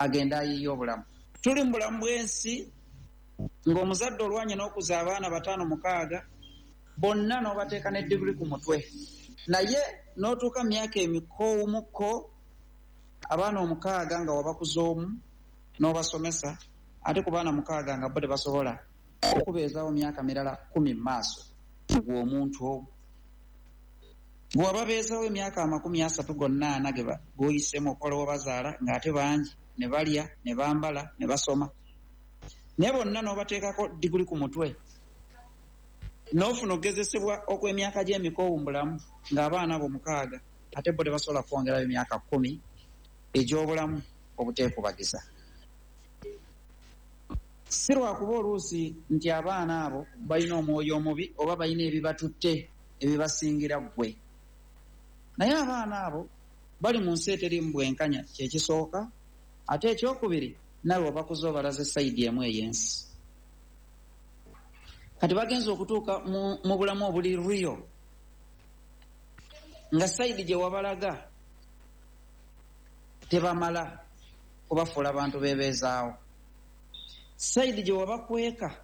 Agenda ayiye obulamu. Tuli mu bulamu bw'ensi ng'omuzadde olwanye n'okuza abaana bataano, mukaaga, bonna n'obateeka ne diguri ku mutwe, naye n'otuuka mu myaka emikoowumukko, abaana omukaaga nga wabakuza omu n'obasomesa, ate ku baana mukaaga nga bo tebasobola okubeezaawo myaka mirala 10 mu maaso. Gwe omuntu omu gwe wababeezawo emyaka 30 gonna ana g'oyiseemu okukola, wabazaala ng'ate bangi, ne balya, ne bambala, ne basoma, naye bonna n'obateekako diguli ku mutwe, n'ofuna okugezesebwa okw'emyaka gy'emikoowu mu bulamu ng'abaana abo mukaaga ate bo tebasobola kwongerayo emyaka 10 egy'obulamu obuteekubagiza. Si lwakuba oluusi nti abaana abo balina omwoyo omubi oba balina ebibatutte ebibasingira ggwe, naye abaana abo bali mu nsi eteriimu bwenkanya, kyekisooka. Ate ekyokubiri, nawe wabakuza obalaze side emu ey'ensi. Kati bagenza okutuuka mu bulamu obuli real nga side gye wabalaga tebamala kubafuula bantu bebeezaawo. Side gye wabakweka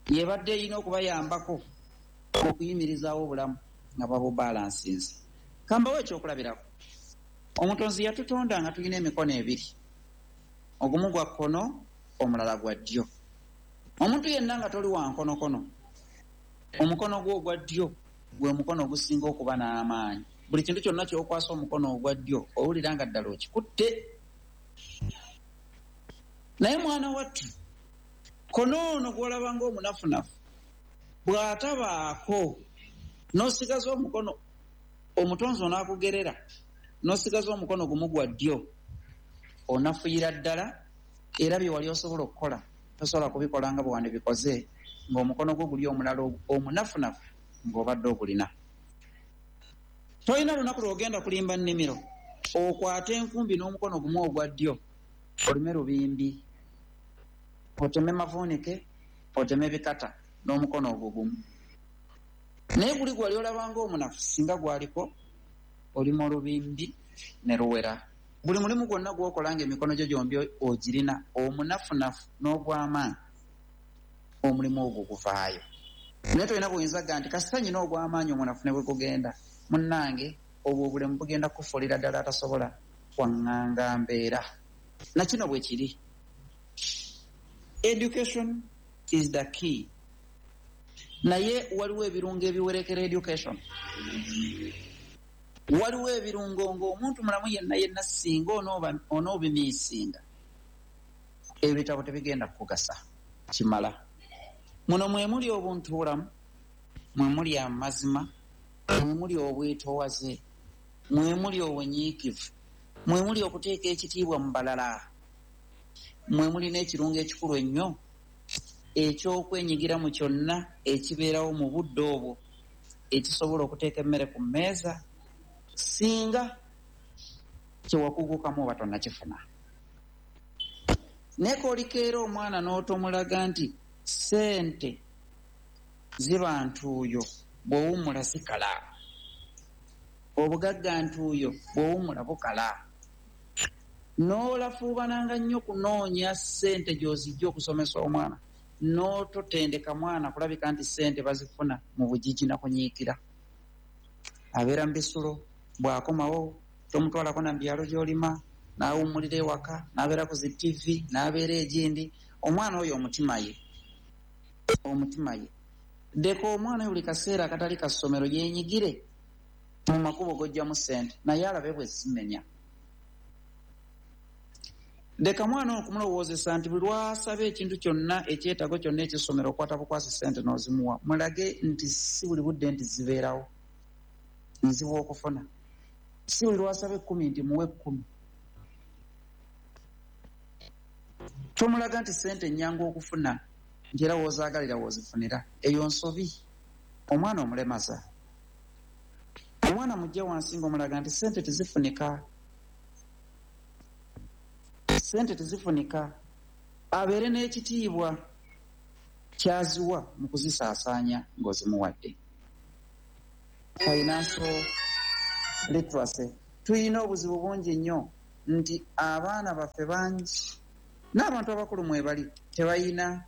yebadde erina okubayambako okuyimirizaawo obulamu nga babubalansinze. Kambawo ekyokulabirako. Omutonzi yatutonda nga tulina emikono ebiri, ogumu gwa kkono, omulala gwa ddyo. Omuntu yenna nga toli wa nkonokono, omukono gwo ogwa ddyo gwe mukono ogusinga okuba n'amaanyi. Buli kintu kyonna ky'okwasa omukono ogwa ddyo owulira nga ddala okikutte. Naye mwana wattu, kono ono gw'olaba ng'omunafunafu bw'atabaako, n'osigaza omukono, omutonzi onaakugerera n'osigaza omukono gumu gwa ddyo, onafuyira ddala, era bye wali osobola okukola tosobola kubikola nga bwe wandibikoze ng'omukono gwo guli omulala omunafunafu ng'obadde ogulina. Tolina lunaku lw'ogenda kulimba nnimiro okwate enkumbi n'omukono gumu ogwa ddyo, olime lubimbi, oteme mavuunike, oteme bikata n'omukono ogwo gumu. Naye guli gwali olabanga omunafu, singa gwaliko olima olubimbi ne luwera. Buli mulimu gwonna gw'okola ng'emikono gyo gyombi ogirina, omunafunafu n'ogw'amaanyi, omulimu ogwo guvaayo. Naye tolina buyinza ga nti kasita nyina ogw'amaanyi, omunafu ne bwe gugenda. Munnange, obwo obulemu bugenda kukufuulira ddala atasobola kwaŋŋanga mbeera. Nakino bwe kiri, education is the key, naye waliwo ebirungo ebiwerekera education. Waliwo ebirungo ng'omuntu mulamu yenna yenna singa onoobimiisinga, ebitabo tebigenda kukugasa kimala. Muno mwe muli obuntu bulamu, mwe muli amazima, mwe muli obwetowaze, mwe muli obunyiikivu, mwe muli okuteeka ekitiibwa mu balala, mwe muli n'ekirungo ekikulu ennyo eky'okwenyigira mu kyonna ekibeerawo mu budde obwo ekisobola okuteeka emmere ku mmeeza, singa kyewakugukamu oba tonnakifuna. Naye koolikeera omwana n'otomulaga nti ssente ziba ntuuyo, bw'owummula zikala, obugagga ntuuyo, bw'owummula bukala, n'olafuubananga nnyo kunoonya ssente gy'ozijja okusomesa omwana, n'ototendeka mwana kulabika nti ssente bazifuna mu bugigi na kunyiikira, abeera mu bisulo. Bw'akomawo tomutwalako na mu byalo gy'olima, n'awummulira ewaka, n'abeera ku zi TV, n'abeera egindi. Omwana oyo omutima ye, leka omwana oyo buli kaseera akatali ka ssomero yeenyigire mu makubo g'ojjamu ssente, naye alabe bwe zimenya. Leka mwana oyo okumulowoozesa nti buli lwasaba ekintu kyonna, ekyetaago kyonna ekyessomero, okwata bukwasi ssente n'ozimuwa. Mulage nti si buli budde nti zibeerawo, nzibu okufuna. Si buli lwasaba 10 nti muwe 10. Tomulaga nti ssente ennyangu okufuna, nti era woozaagalira woozifunira. Eyo nsobi, omwana omulemaza. Omwana mujja wansi ng'omulaga nti ssente tezifunika, ssente tezifunika, abeere n'ekitiibwa kyaziwa mu kuzisaasaanya ng'ozimuwadde. Financial literacy. Tulina obuzibu bungi nnyo. Nti abaana baffe bangi n'abantu abakulu mwebali tebalina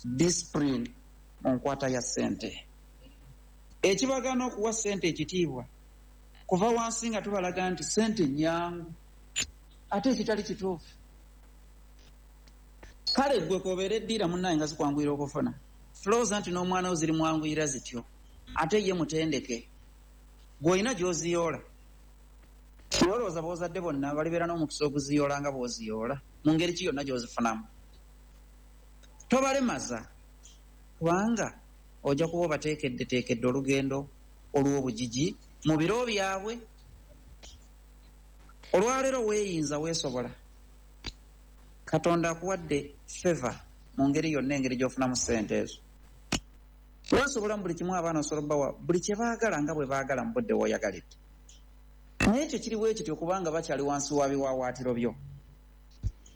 discipline mu nkwata ya ssente. Ekibagaana okuwa ssente ekitiibwa kuva wansi nga tubalaga nti ssente nnyangu, ate ekitali kituufu. Kale ggwe k'obeera eddiira munnaye nga zikwanguyira okufuna, tulowooza nti n'omwana wo zirimwanguyira zityo, ate ye mutendeke. Gw'olina gy'oziyoola. Naye olowooza b'ozadde bonna balibeera n'omukisa oguziyoola nga bw'oziyoola mu ngeri ki yonna gy'ozifunamu? Tobalemaza, kubanga ojja kuba obateekeddeteekedde olugendo olw'obugigi mu biro byabwe. Olwaleero weeyinza, weesobola. Katonda akuwadde favor mu ngeri yonna, engeri gy'ofunamu ssente ezo. Weesobola mu buli kimu, abaana osobola obbawa buli kye baagala nga bwe baagala mu budde w'oyagalidde. Naye ekyo kiri bwe kityo kubanga bakyali wansi wa biwaawaatiro byo.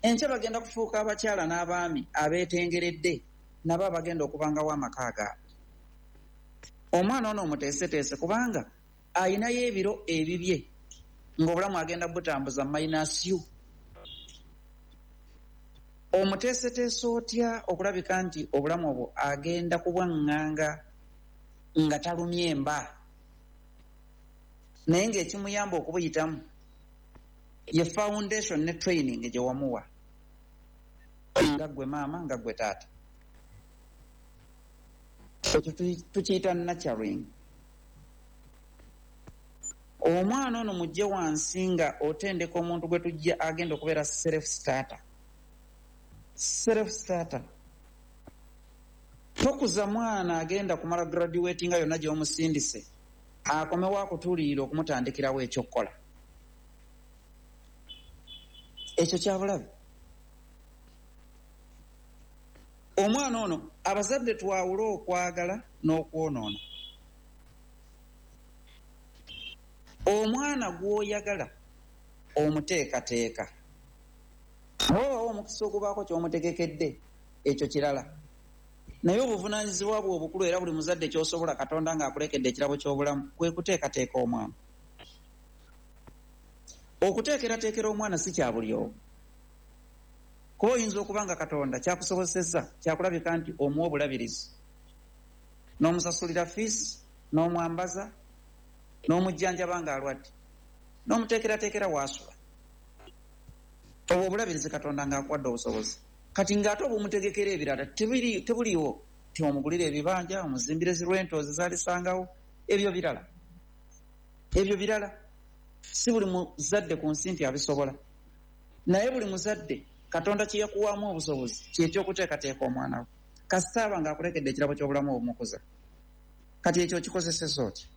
Enkya bagenda kufuuka abakyala n'abaami abeetengeredde, nabo abagenda okubangawo amaka gaabwe. Omwana ono omuteeseteese kubanga ayinayo ebiro ebibye ng'obulamu agenda butambuza minus you. Omuteeseteese otya okulabika nti obulamu obwo agenda kubwaŋŋanga nga talumye mba, naye ng'ekimuyamba okubuyitamu ye foundation ne training gye wamuwa nga ggwe maama, nga ggwe taata. Ekyo tukiyita nurturing. Omwana ono mujje wansi nga otendeka omuntu gwe tujja agenda okubeera self starter. Self starter. Tokuza mwana agenda kumala graduating nga yonna gy'omusindise akomewo akutuulirira okumutandikirawo ekyokukola. Ekyo kyabulabe. Omwana ono, abazadde twawule okwagala n'okwonoona. Omwana gw'oyagala omuteekateeka, bw'obawo omukisa ogubaako ky'omutegekedde, ekyo kirala. Naye obuvunaanyizibwa bwe obukulu, era buli muzadde ky'osobola, Katonda ng'akulekedde ekirabo ky'obulamu, kwe kuteekateeka omwana. Okuteekerateekera omwana si kya buli omu, kuba oyinza okuba nga Katonda kyakusobozesezza kyakulabika nti omuwa obulabirizi, n'omusasulira fiisi, n'omwambaza, n'omujjanjaba ng'alwadde, n'omuteekerateekera waasula. Obwo obulabirizi Katonda ng'akuwadde obusobozi. Kati ng'ate obumutegekera ebirala tebuliiwo, ti omugulire ebibanja, omuzimbire zi rentals zaalisangawo, ebyo birala, ebyo birala. Si buli muzadde ku nsi nti abisobola, naye buli muzadde Katonda kye yakuwaamu obusobozi kyekyokuteekateeka omwana we, kasita aba ng'akulekedde ekirabo ky'obulamu obumukuza. Kati ekyo okikozeseza otya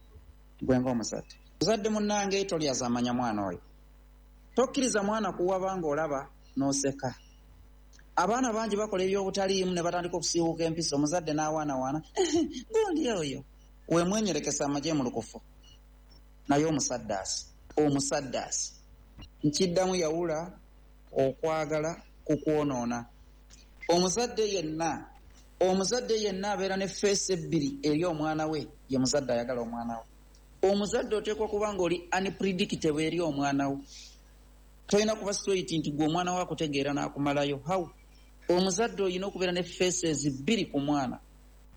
gwe ng'omuzadde? Muzadde munnange, tolyazaamanya mwana oyo. Tokkiriza mwana kuwaba ng'olaba n'oseka. Abaana bangi bakola ebyobutaliimu ne batandika okusiiwuuka empisa, omuzadde n'awaanawaana gundi oyo weemwenyerekesa amagye mu lukufu. Naye omusaddaasi, omusaddaasi, nkiddamu, yawula okwagala ku kwonoona. Omuzadde yenna, omuzadde yenna abeera ne face ebbiri eri omwana we ye muzadde ayagala omwana we. Omuzadde oteekwa kuba nga oli unpredictable eri omwana wo. Tolina kuba straight nti gwe omwana we akutegeera n'akumalayo. How? Omuzadde olina okubeera ne faces bbiri ku mwana.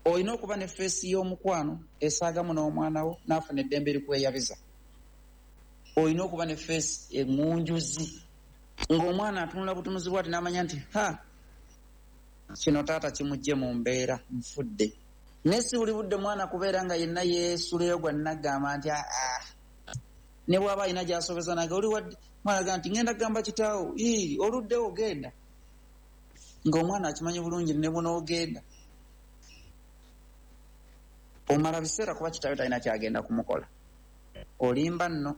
Olina okuba ne face y'omukwano esaagamu n'omwana wo n'afuna eddembe erikweyabiza. Olina okuba ne face eŋŋunjuzi ng'omwana atunula butunuzi bwati n'amanya nti ha, kino taata kimugye mu mbeera, nfudde. Naye si buli budde mwana kubeera nga yenna yeesuleyo gwa naggamba nti aa, ne bw'aba alina gy'asobeza nange oli wadde mwana ga nti ŋŋenda kugamba kitaawo, ii oluddewo genda, ng'omwana akimanyi bulungi ne bunoogenda omala biseera kuba kitaawe talina kyagenda kumukola. Olimba nno,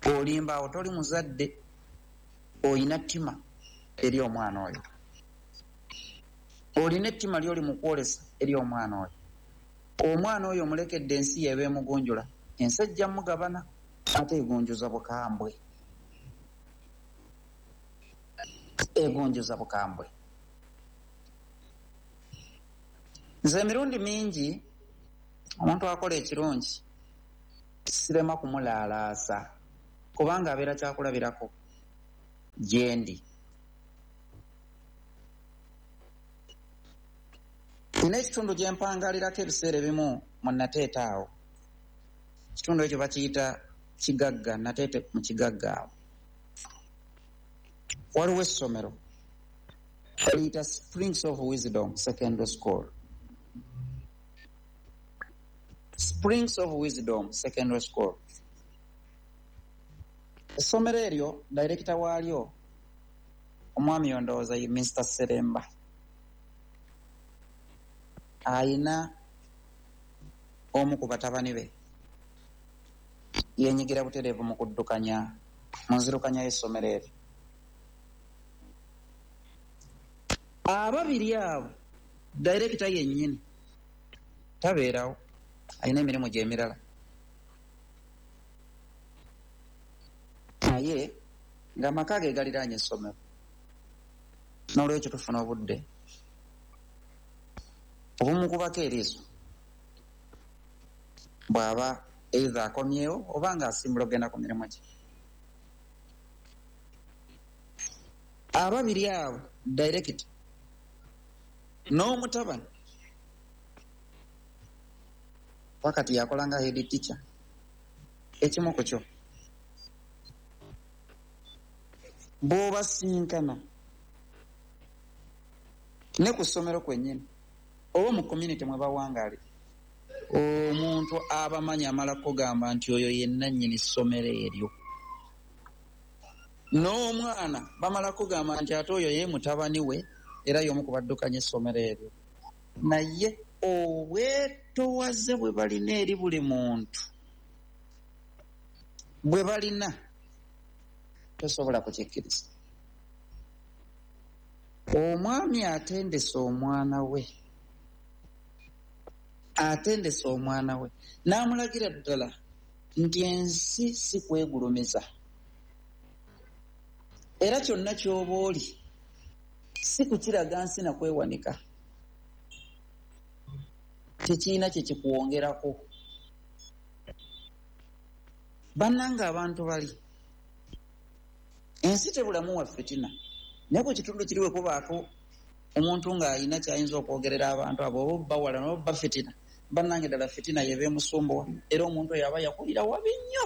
olimba awo, toli muzadde. Olina ttima eri omwana oyo, olina ettima lyoli mu kwolesa eri omwana oyo. Omwana oyo omulekedde ensi yeeba emugunjula. Ensi ejja mugabana, ate egunjuza bukambwe, egunjuza bukambwe. Nze emirundi mingi omuntu akola ekirungi sirema kumulaalaasa. Kubanga abeera kyakulabirako gyendi. Nina ekitundu gye mpangalirako ebiseera ebimu mu Nateete awo. Ekitundu ekyo bakiyita Kigagga, Nateete mu Kigagga awo. Waliwo essomero baliyita Springs of Wisdom Secondary School. Springs of Wisdom Secondary School. Essomero eryo dayirekita waalyo omwami ondowooza ye Mr. Seremba. Ayina omu ku batabani be yenyigira butereevu mu kuddukanya mu nzirukanya y'essomero eryo. Ababiri abo dayirekita yennyini tabeerawo, alina emirimu gye emirala, naye ng'amaka ge galiraanye essomero. N'olwekyo tufuna obudde obumukubako eriiso bw'aba either akomyewo oba ng'asimbula okugenda ku mirimu gye. Ababiri abo dayirekita n'omutabani wakati yakola nga head teacher, ekimu ku kyo bw'obasinkana ne ku ssomero kwennyini oba mu community mwe bawangalira, omuntu abamanyi amala kugamba nti oyo yenna nnyini ssomero eryo. N'omwana bamala kugamba nti ate oyo ye mutabani we era y'omu ku baddukanya essomero eryo. Naye obwetowaze bwe balina eri buli muntu bwe balina tosobola kukikkiriza. Omwami atendese omwana we, atendese omwana we n'amulagira ddala nti ensi si kwegulumiza, era kyonna ky'oba oli si kukiraga nsi na kwewanika, tekirina kye kikuwongerako. Bannange abantu bali ensi tebulamu wa fitina, naye ku kitundu kiri we kubaako omuntu ng'alina ky'ayinza okwogerera abantu abo oba bawala oba bafitina, bannange ddala fitina yeba emusumbuwa, era omuntu oyo aba yakulira wabi nnyo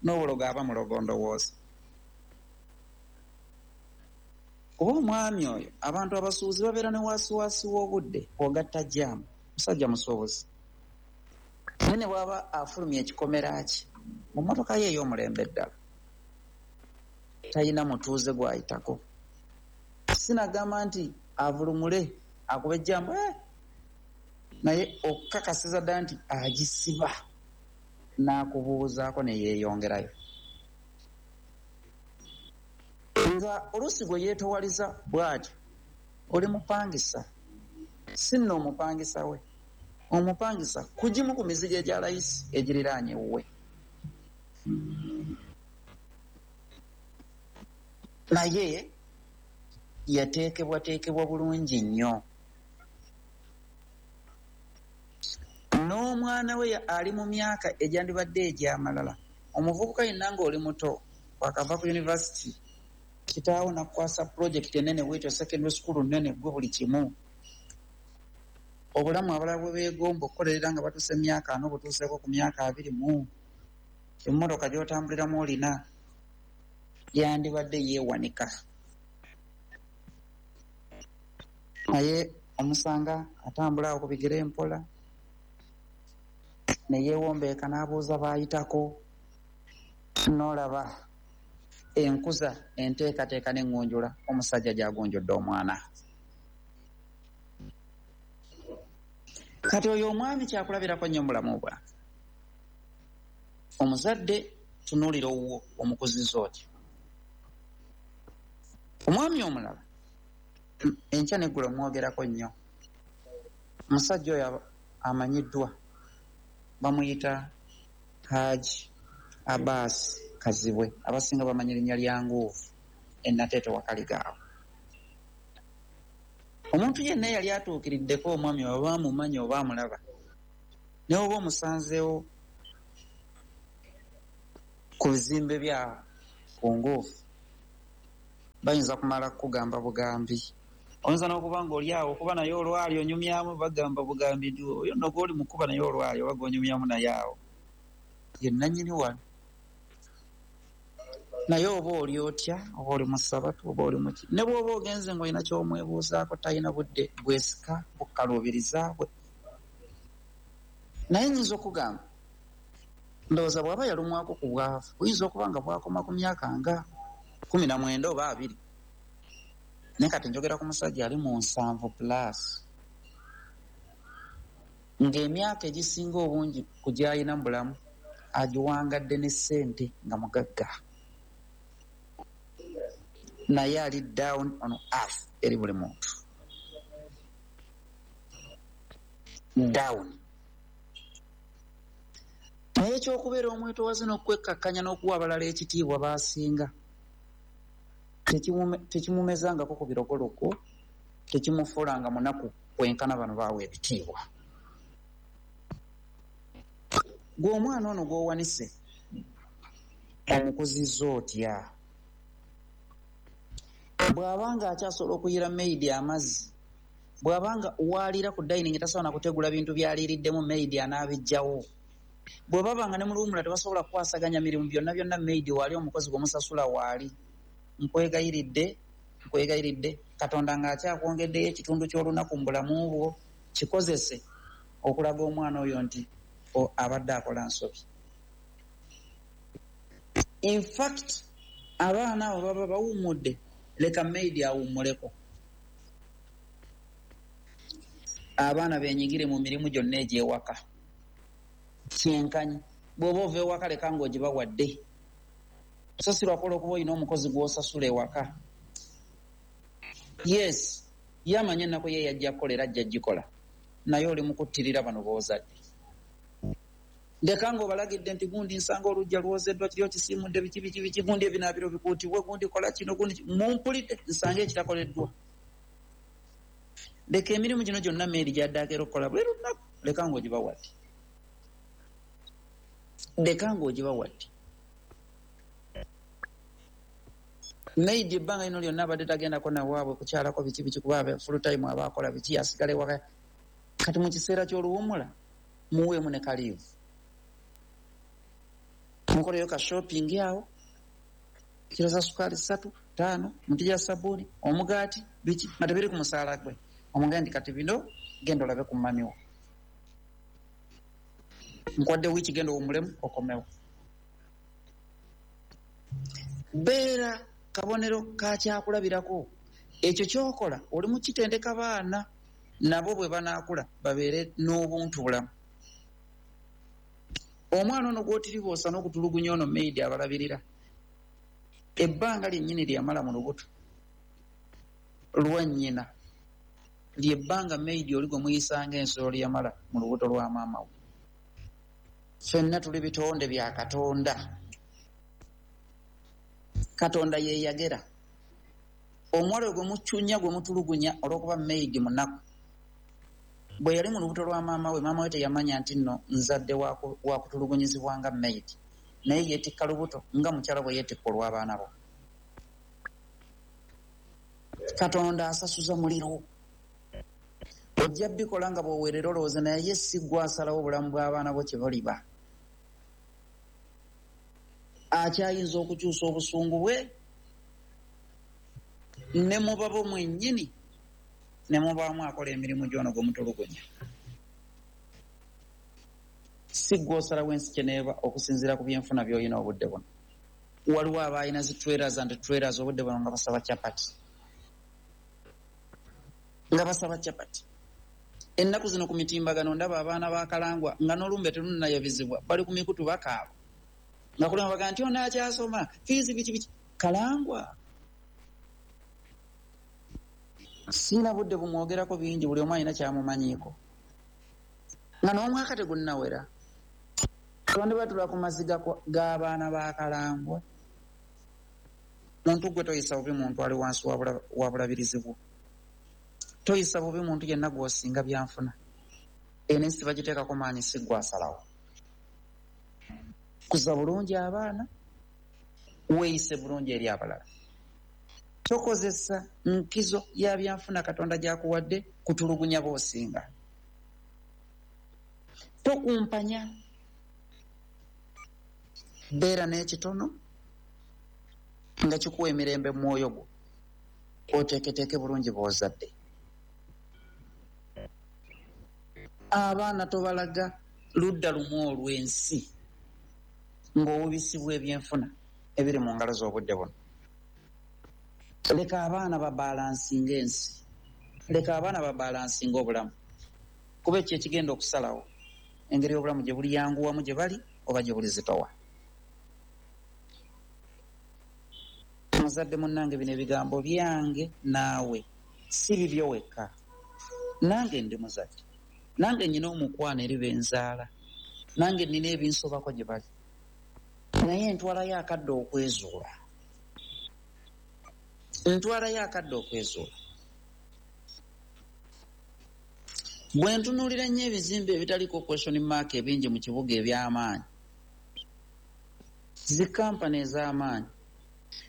n'obulogo aba mulogo ndowooza. Kuba omwami oyo abantu abasuubuzi babeera ne waasiwaasi w'obudde ogatta jjaamu, musajja musuubuzi, naye ne bw'aba afulumya ekikomera ki mu mmotoka ye ey'omulembe ddala talina mutuuze gw'ayitako. Sinagamba nti avulumule akuba ejjambo, naye okukakasiza ddala nti agisiba n'akubuuzaako ne yeeyongerayo. Nga oluusi gwe yeetowaliza bw'atyo, oli mupangisa, si nno omupangisa we, omupangisa kugimu ku mizigo egya layisi egiriraanye ewuwe. Naye yateekebwateekebwa bulungi nnyo. N'omwana we ali mu myaka egyandibadde egy'amalala. Omuvubuka yenna ng'oli muto wakava ku yunivasiti, kitaawo n'akukwasa pulojekiti ennene bwetyo, secondary school nnene, gwe buli kimu. Obulamu abalala bwe beegomba okukolerera nga batuuse emyaka 40, butuuseeko ku myaka 20, emmotoka gy'otambuliramu olina, yandibadde yeewanika. Naye omusanga atambula awo ku bigere mpola, ne yeewombeeka n'abuuza baayitako, n'olaba enkuza enteekateeka n'eŋŋunjula omusajja gy'agunjudde omwana. Kati oyo omwami kyakulabirako nnyo mu bulamu bwange. Omuzadde tunuulira owuwo omukuzizza otyo. Omwami omulala enkya n'eggulo mwogerako nnyo. Omusajja oyo amanyiddwa bamuyita Haji Abbas Kazibwe, abasinga bamanyi erinnya lya Nguuvu e Nateete Wakaligaawo. Omuntu yenna eyali atuukiriddeko omwami oba amumanyi oba amulaba, naye oba omusanzeewo ku bizimbe bya Kunguufu bayinza kumala kukugamba bugambi. Oyinza n'okuba ng'oli awo okuba naye olwali onyumyamu, bagamba bugambi nti oyo nno gw'oli mukuba naye olwali oba gw'onyumyamu naye awo ye nannyini wano. Naye oba oli otya, oba oli mu ssabatu, oba oli muki, ne bw'oba ogenze ng'olina ky'omwebuuzaako, talina budde bwesika bukaluubiriza bwe. Naye nnyinza okugamba, ndowooza bw'aba yalumwako ku bwavu, buyinza okuba nga bwakoma ku myaka nga 19 oba 20. Naye kati njogera ku musajja ali mu 70 plus, ng'emyaka egisinga obungi ku gy'alina mu bulamu agiwangadde ne ssente nga mugagga, naye ali down on earth eri buli muntu down. Naye ekyokubeera omwetowaze n'okwekkakkanya n'okuwa abalala ekitiibwa baasinga tekimumezangako ku birogologo, tekimufuulanga munaku kwenkana bano baawa ebitiibwa. Gwe omwana ono gw'owanise omukuzizza otya? Bw'abanga akyasobola okuyira maidi amazzi, bw'abanga waalira ku dining tasobola na kutegula bintu by'aliiriddemu, maidi anaabijjawo. Bwe babanga ne mu luwummula tebasobola kukwasaganya mirimu byonna byonna, maidi waali, omukozi gw'omusasula waali. Nkwegayiridde, nkwegayiridde, Katonda ng'akyakwongeddeyo ekitundu ky'olunaku mu bulamu bwo, kikozese okulaga omwana oyo nti abadde akola nsobi. In fact, abaana abo baba bawummudde, leka maidi awummuleko. Abaana beenyigire mu mirimu gyonna egy'ewaka. Kyenkanyi, bw'oba ova ewaka leka ng'ogibawadde. So si lwakola okuba olina omukozi gw'osasula ewaka. Yes, ye amanye ennaku ye yajja kukola era ajja gikola, naye oli mu kuttirira bano b'ozadde. Ndeka ng'obalagidde nti gundi nsanga oluggya lwozeddwa, kiri okisiimudde, biki biki biki, gundi ebinaabiro bikuutibwe, gundi kola kino, gundi mumpulidde, nsange ekitakoleddwa. Leka emirimu gino gyonna meeri gy'addaako era okukola buli lunaku, leka ng'ogibawadde. Leka ng'ogibawadde. Maidi ebbanga lino lyonna abadde tagendako nawaabwe kukyalako biki biki, kuba full time aba akola biki, asigala ewaka. Kati mu kiseera ky'oluwummula muweemu ne kaliivu, mukoleyo ka shopping awo, kiro za sukaali 3, 5, muti gya sabbuuni, omugaati, biki nga tebiri ku musaala gwe. Omugambe nti kati bino genda olabe ku mamiwo, nkwadde wiiki, genda owummulemu okomewo. Beera kabonero ka kyakulabirako. Ekyo ky'okola oli mu kitendeka baana nabo bwe banaakula babeere n'obuntu bulamu. Omwana ono gw'otiriboosa n'okutulugunya ono maidi abalabirira, ebbanga lyennyini lye yamala mu lubuto lwa nnyina lyebbanga maidi oli gwe muyisanga ensolo lye yamala mu lubuto lwa maama we. Ffenna tuli bitonde bya Katonda. Katonda ye yagera. Omuwala gwe mucunya gwe mutulugunya olw'okuba maidi munaku, bwe yali mu lubuto lwa maama we, maama we teyamanya nti nno nzadde wa kutulugunyizibwa nga maidi, naye yeetikka lubuto nga mukyala bwe yeetikka olw'abaana bo. Katonda asasuza muliro. Ojja bikola nga bw'oweerera olowooza, naye si ggwe asalawo obulamu bw'abaana bo kye buliba. Akyayinza okukyusa obusungu bwe ne mubabo mwennyini, ne mubaamu akola emirimu gy'ono gwe mutulugunya. Si ggwe osalawo ensi kyeneeba okusinziira ku byenfuna by'olina obudde buno. Waliwo abalina zi trailers and trailers obudde buno nga basaba chapati. Nga basaba chapati. Ennaku zino ku mitimbagano ndaba abaana ba Kalangwa nga n'olumbe terunnayabizibwa, bali ku mikutu bakaaba. Nga kulema bagamba nti ono akyasoma, fiizi biki biki. Kalangwa. Sirina budde bumwogerako bingi, buli omu alina kyamumanyiiko. Nga n'omwaka tegunnawera. Twandibwe ku maziga g'abaana ba Kalangwa. Muntu gwe toyisa bubi muntu ali wansi wa bulabirizi bwo. Toyisa bubi muntu yenna gw'osinga byanfuna. Eno ensi bagiteekako maanyi, si ggwe asalawo. Kuza bulungi abaana. Weeyise bulungi eri abalala. Tokozesa nkizo ya byanfuna Katonda gy'akuwadde kutulugunya b'osinga. Tokumpanya. Beera n'ekitono nga kikuwa emirembe mu mwoyo gwo, oteeketeeke bulungi bw'ozadde. Abaana tobalaga ludda lumu olw'ensi ng'owubisibwa ebyenfuna ebiri mu ngalo z'obudde buno. Leka abaana babalansinga ensi, leka abaana babalansinga obulamu, kuba ekyo ekigenda okusalawo engeri obulamu gye buli yanguwamu gye bali oba gye buli zitowa. Muzadde munnange, bino ebigambo byange naawe si bibyo wekka. Nange ndi muzadde, nange nnina omukwano eri benzaala, nange nnina ebinsobako gye bali, naye ntwalayo akadde okwezuula. Ntwalayo akadde okwezuula. Bwe ntunuulira nnyo ebizimbe ebitaliko question mark ebingi mu kibuga eby'amaanyi, zi kampani ez'amaanyi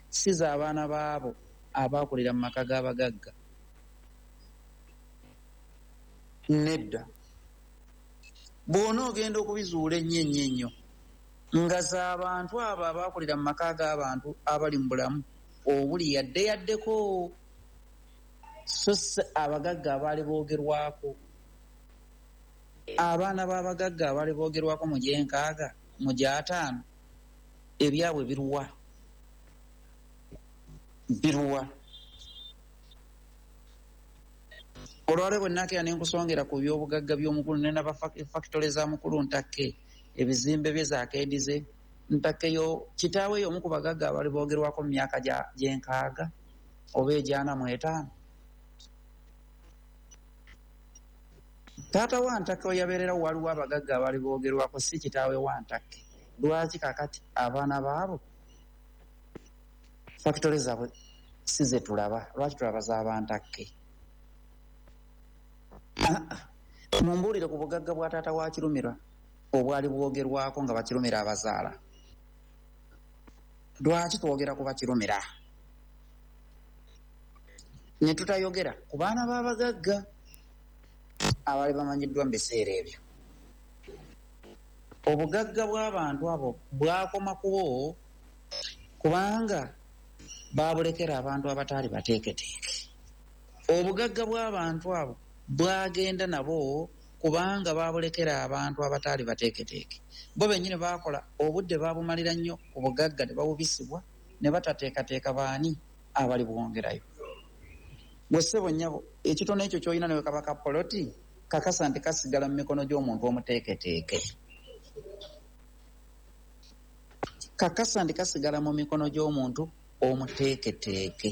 si z'abaana baabo abaakulira mu maka g'abagagga. Nedda. Bw'ona ogenda okubizuula ennyo ennyo ennyo nga z'abantu abo abaakulira mu maka g'abantu abali mu bulamu obuli yadde yaddeko, so si abagagga abaali boogerwako. Abaana b'abagagga abaali boogerwako mu gy'enkaaga, mu gy'ataano, ebyabwe biruwa? Biruwa? Olwaleero bwe nnaakera ne nkusongera ku by'obugagga by'omukulu, ne naba fakitole za mukulu Ntakke, ebizimbe bye zaakeedize, Ntakke yo kitaawe y'omu ku bagagga abaali boogerwako mu myaka gy'enkaaga oba egy'ana mu etaano. Taata wa Ntakke we yabeererawo waliwo abagagga abaali boogerwako, si kitaawe wa Ntakke. Lwaki kaakati abaana baabo fakitole zaabwe si ze tulaba? Lwaki tulaba z'abantakke? Mumbuulire ku bugagga bwa taata wa Kirumira obwali bwogerwako nga Bakirumira abazaala. Lwaki twogera ku Bakirumira ne tutayogera ku baana b'abagagga abaali bamanyiddwa mu biseera ebyo? Obugagga bw'abantu abo bwakoma kubo kubanga baabulekera abantu abataali bateeketeeke. Obugagga bw'abantu abo bwagenda nabo kubanga baabulekera abantu abataali bateeketeeke. Bo bennyini baakola obudde baabumalira nnyo ku bugagga ne bawubisibwa ne batateekateeka baani abali bwongerayo. Gwe ssebo nnyabo, ekitono ekyo ky'olina ne bwe kaba ka poloti, kakasa nti kasigala mu mikono gy'omuntu omuteeketeeke. Kakasa nti kasigala mu mikono gy'omuntu omuteeketeeke.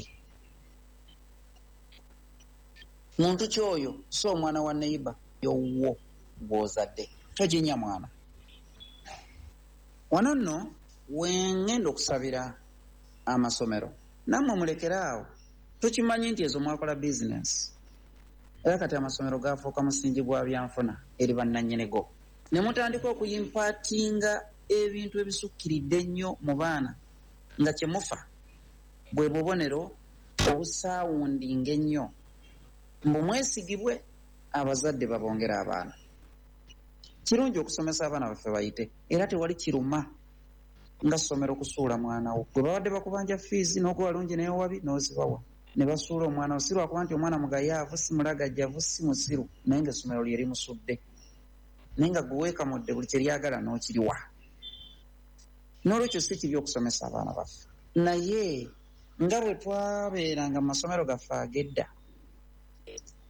Muntu ki oyo? Si omwana wa neighbor yowwo gw'ozadde. Toginya mwana. Wano nno wengenda okusabira amasomero. Nammwe mulekere awo. Tukimanyi nti ezo mwakola bizinensi. Era kati amasomero gafuuka musingi gwa byanfuna eri bannannyinigo. Ne mutandika okuyimpaatinga ebintu ebisukkiridde ennyo mu baana nga kye mufa bwe bubonero obusaawundinga ennyo. Mbu mwesigibwe abazadde babongera abaana. Kirungi okusomesa abaana baffe bayite, era tewali kiruma nga ssomero kusuula mwana wo. Gwe babadde bakubanja fiizi n'okuba lungi n'ewabi n'ozibawa ne basuula omwana wo, si lwakuba nti omwana mugayaavu, si mulagajjavu, si musiru, naye ng'essomero lye limusudde, naye nga gwe weekamudde buli kye lyagala n'okiriwa. N'olwekyo si kibi okusomesa abaana baffe, naye nga bwe twabeeranga mu masomero gaffe ag'edda,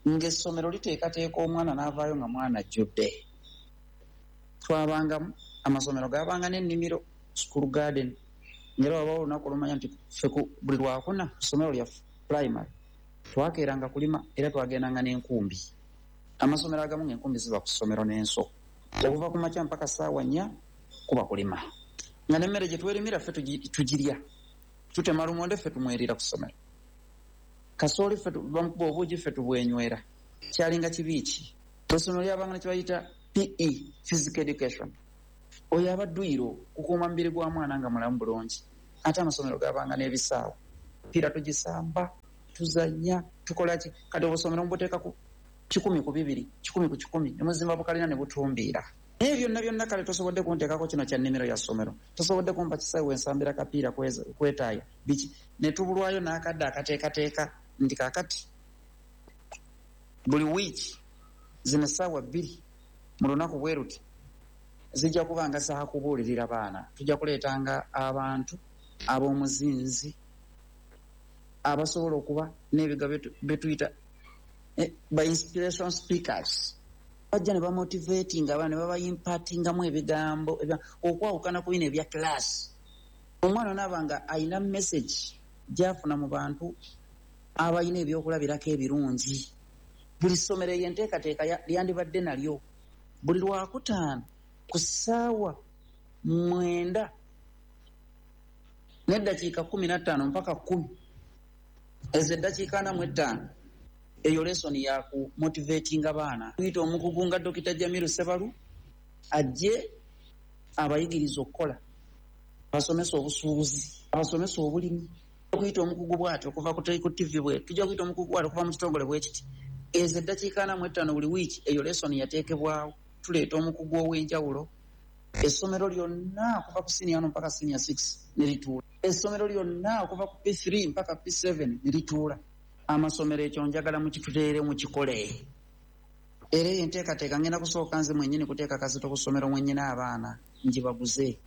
ng'essomero liteekateeka omwana n'avaayo nga mwana ajjudde. Twabangamu amasomero gaabanga n'ennimiro, school garden, ng'era wabawo olunaku olumanya nti ffe buli lwakuna ku ssomero lyaffe primary twakeeranga kulima, era twagendanga n'enkumbi. Amasomero agamu ng'enkumbi ziba ku ssomero n'enso, okuva ku makya mpaka ssaawa 4 kuba kulima, nga n'emmere gye twerimira ffe tugirya. Tutema lumonde ffe tumwerira ku ssomero, kasooli ffe bamukuba obuugi ffe tubwenywera. Kyalinga kibi ki? Essomero lyabanga ne kye bayita PE, physical education. Oyo aba dduyiro kukuuma mubiri gwa mwana nga mulamu bulungi. Ate amasomero gabanga n'ebisaawe, piira tugisamba, tuzanya, tukola ki. Kati obusomero mubuteeka ku 100 ku 200, 100 ku 100, ne muzimba bukalina ne butumbiira. Naye byonna byonna kale tosobodde kunteekako kino kya nnimiro ya ssomero, tosobodde kumpa kisaawe wensambira kapiira kwetaaya biki, ne tubulwayo n'akadde akateekateeka nti kaakati buli wiiki zino essaawa 2 mu lunaku bwe ruti zijja kuba nga zaakubuulirira baana. Tujja kuleetanga abantu ab'omuzinzi abasobola okuba n'ebigambo bye tuyita ba inspiration speakers, bajja ne bamotivatinga abaana, ne babayimpatingamu ebigambo okwawukana ku bino ebya class. Omwana onaaba nga ayina message gy'afuna mu bantu abalina ebyokulabirako ebirungi. Buli ssomero eyo enteekateeka lyandibadde nalyo buli Lwakutaano ku ssaawa 9:15 mpaka 10, ezo eddakiika 45, eyo lesson ya ku motivatinga baana. Tuyita omukugu nga Dokita Jamiru Sebalu ajje abayigiriza okukola, abasomesa obusuubuzi, abasomesa obulimi. Okuyita omukugu bw'ati okuva ku TV bwe tujja kuyita omukugu bw'ati okuva mu kitongole bwe kiti. Ezo eddakiika 45 buli wiiki, eyo lesson yateekebwawo. Tuleeta omukugu ow'enjawulo, essomero lyonna okuva ku senior 1 mpaka senior 6 ne lituula, essomero lyonna okuva ku P3 mpaka P7 ne lituula. Amasomero ekyo njagala mukituteere, mukikole. Era eyo enteekateeka ngenda kusooka nze mwennyini kuteeka kazito ku ssomero mwennyini, abaana ngibaguze.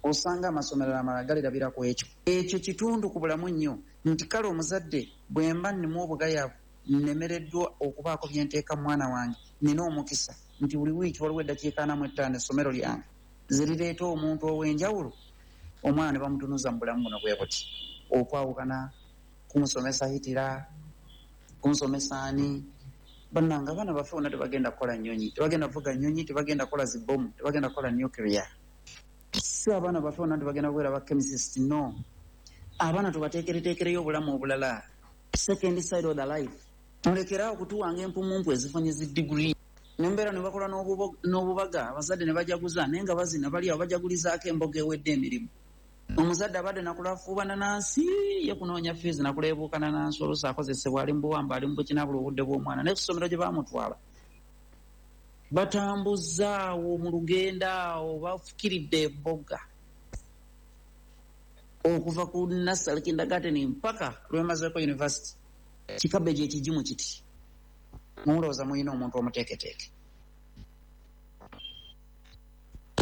Osanga amasomero amalala galirabira ku ekyo. Ekyo kitundu ku bulamu nnyo nti kale omuzadde bwe mba nnimu obugayavu, nnemereddwa okubaako bye nteeka mu mwana wange, nina omukisa nti buli wiiki waliwo eddakiika 45 essomero lyange zerireeta omuntu ow'enjawulo, omwana ne bamutunuza mu bulamu buno bwe buti, okwawukana kumusomesa hitira, kumusomesa ani. Bannange, abaana baffe bonna tebagenda kukola nnyonyi, tebagenda kuvuga nnyonyi, tebagenda kukola zibomu, tebagenda kukola nuclear. Si abaana baffe bonna tebagenda kubeera ba chemicist, no. Abaana tubateekereteekereyo obulamu obulala, second side of the life. Mulekeraawo okutuwanga empumumpu ezifunye zi degree, nembeera ne bakola n'obubaga, abazadde ne bajaguza, naye nga bazina bali awo bajagulizaako emboga ewedde emirimu. Omuzadde abadde nakulafuubana nansi ye kunoonya fees, nakuleebuukana nansi, oluusi akozesebwa, ali mu buwamba, ali mu bukinabula obudde bw'omwana. Naye ku ssomero gye baamutwala batambuzaawo mu lugendo awo bafukiridde emboga okuva ku nursery, kindergarten mpaka lwemazeeko university. Kikabeji ekigimu kiti, mulowooza mulina omuntu omuteeketeeke?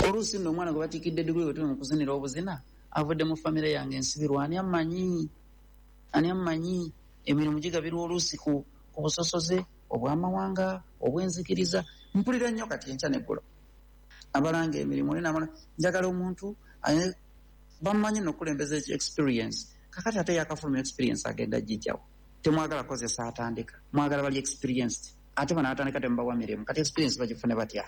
Oluusi nno omwana gwe batiikidde diguli bwe tuli mu kuzinira obuzina avudde mu famire yange ensibirwa. Ani ammanyi? Ani ammanyi? Emirimu gigabirwa oluusi ku busosoze obw'amawanga, obw'enzikiriza. Mpulira nnyo kati enkya neggulo abalanga emirimu oli namala njagala omuntu bammanyi nokukulembeza experience. Kakati ate yakafulumya experience agenda gijjawo? Temwagala kozesa atandika, mwagala bali experienced. Ate bano atandika temubawa mirimu, kati experience bagifune batya?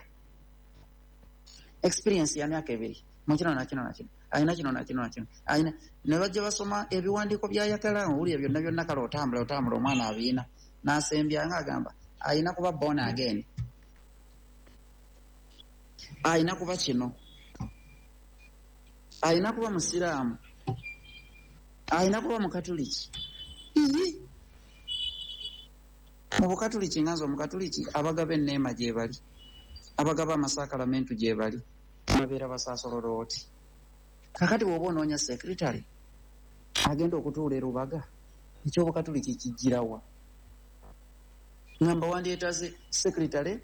Experience ya myaka 2 mukino nakino nakino, alina kino nakino nakino, alina ne bajja basoma ebiwandiiko byayagala owulira byonna byonna. Kale otambula otambula, omwana abiina n'asembya nga agamba alina kuba born again, alina kuba kino, alina kuba musiraamu, alina kuba mukatuliki. Ii, mu bukatuliki nga nze omukatuliki, abagaba enneema gye bali, abagaba amasakalamentu gye bali, babeera basaasolodooti. Kakati bw'oba onoonya secretary agenda okutuula e Rubaga, ekyobukatuliki kijjirawa? Ngamba wandyetaaze secretary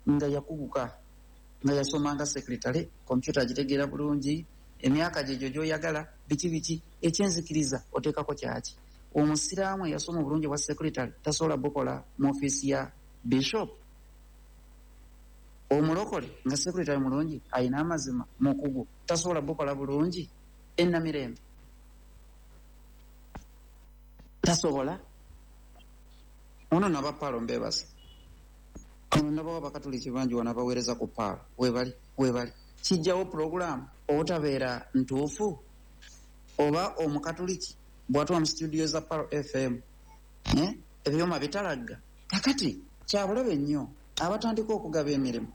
nga yakuguka, nga yasoma nga secretary, kompyuta agitegeera bulungi, emyaka gyegyo gy'oyagala, biki biki. Ekyenzikiriza oteekako kyaki? Omusiraamu eyasoma obulungi bwa secretary tasobola bukola mu ofiisi ya bishop? Omulokole nga secretary mulungi, ayina amazima, mukugu, tasobola bukola bulungi enamirembe? Tasobola. Ono nabapaalo mbebaza, ono nabawa abakatuliki bangi wano abaweereza ku paalo, webali webali. Kijjawo puroguramu obutabeera ntuufu oba omukatuliki bw'atuwa mu studio za Palo FM, eh? Ebyuma bitalagga. Kakati kyabulabe nnyo abatandika okugaba emirimu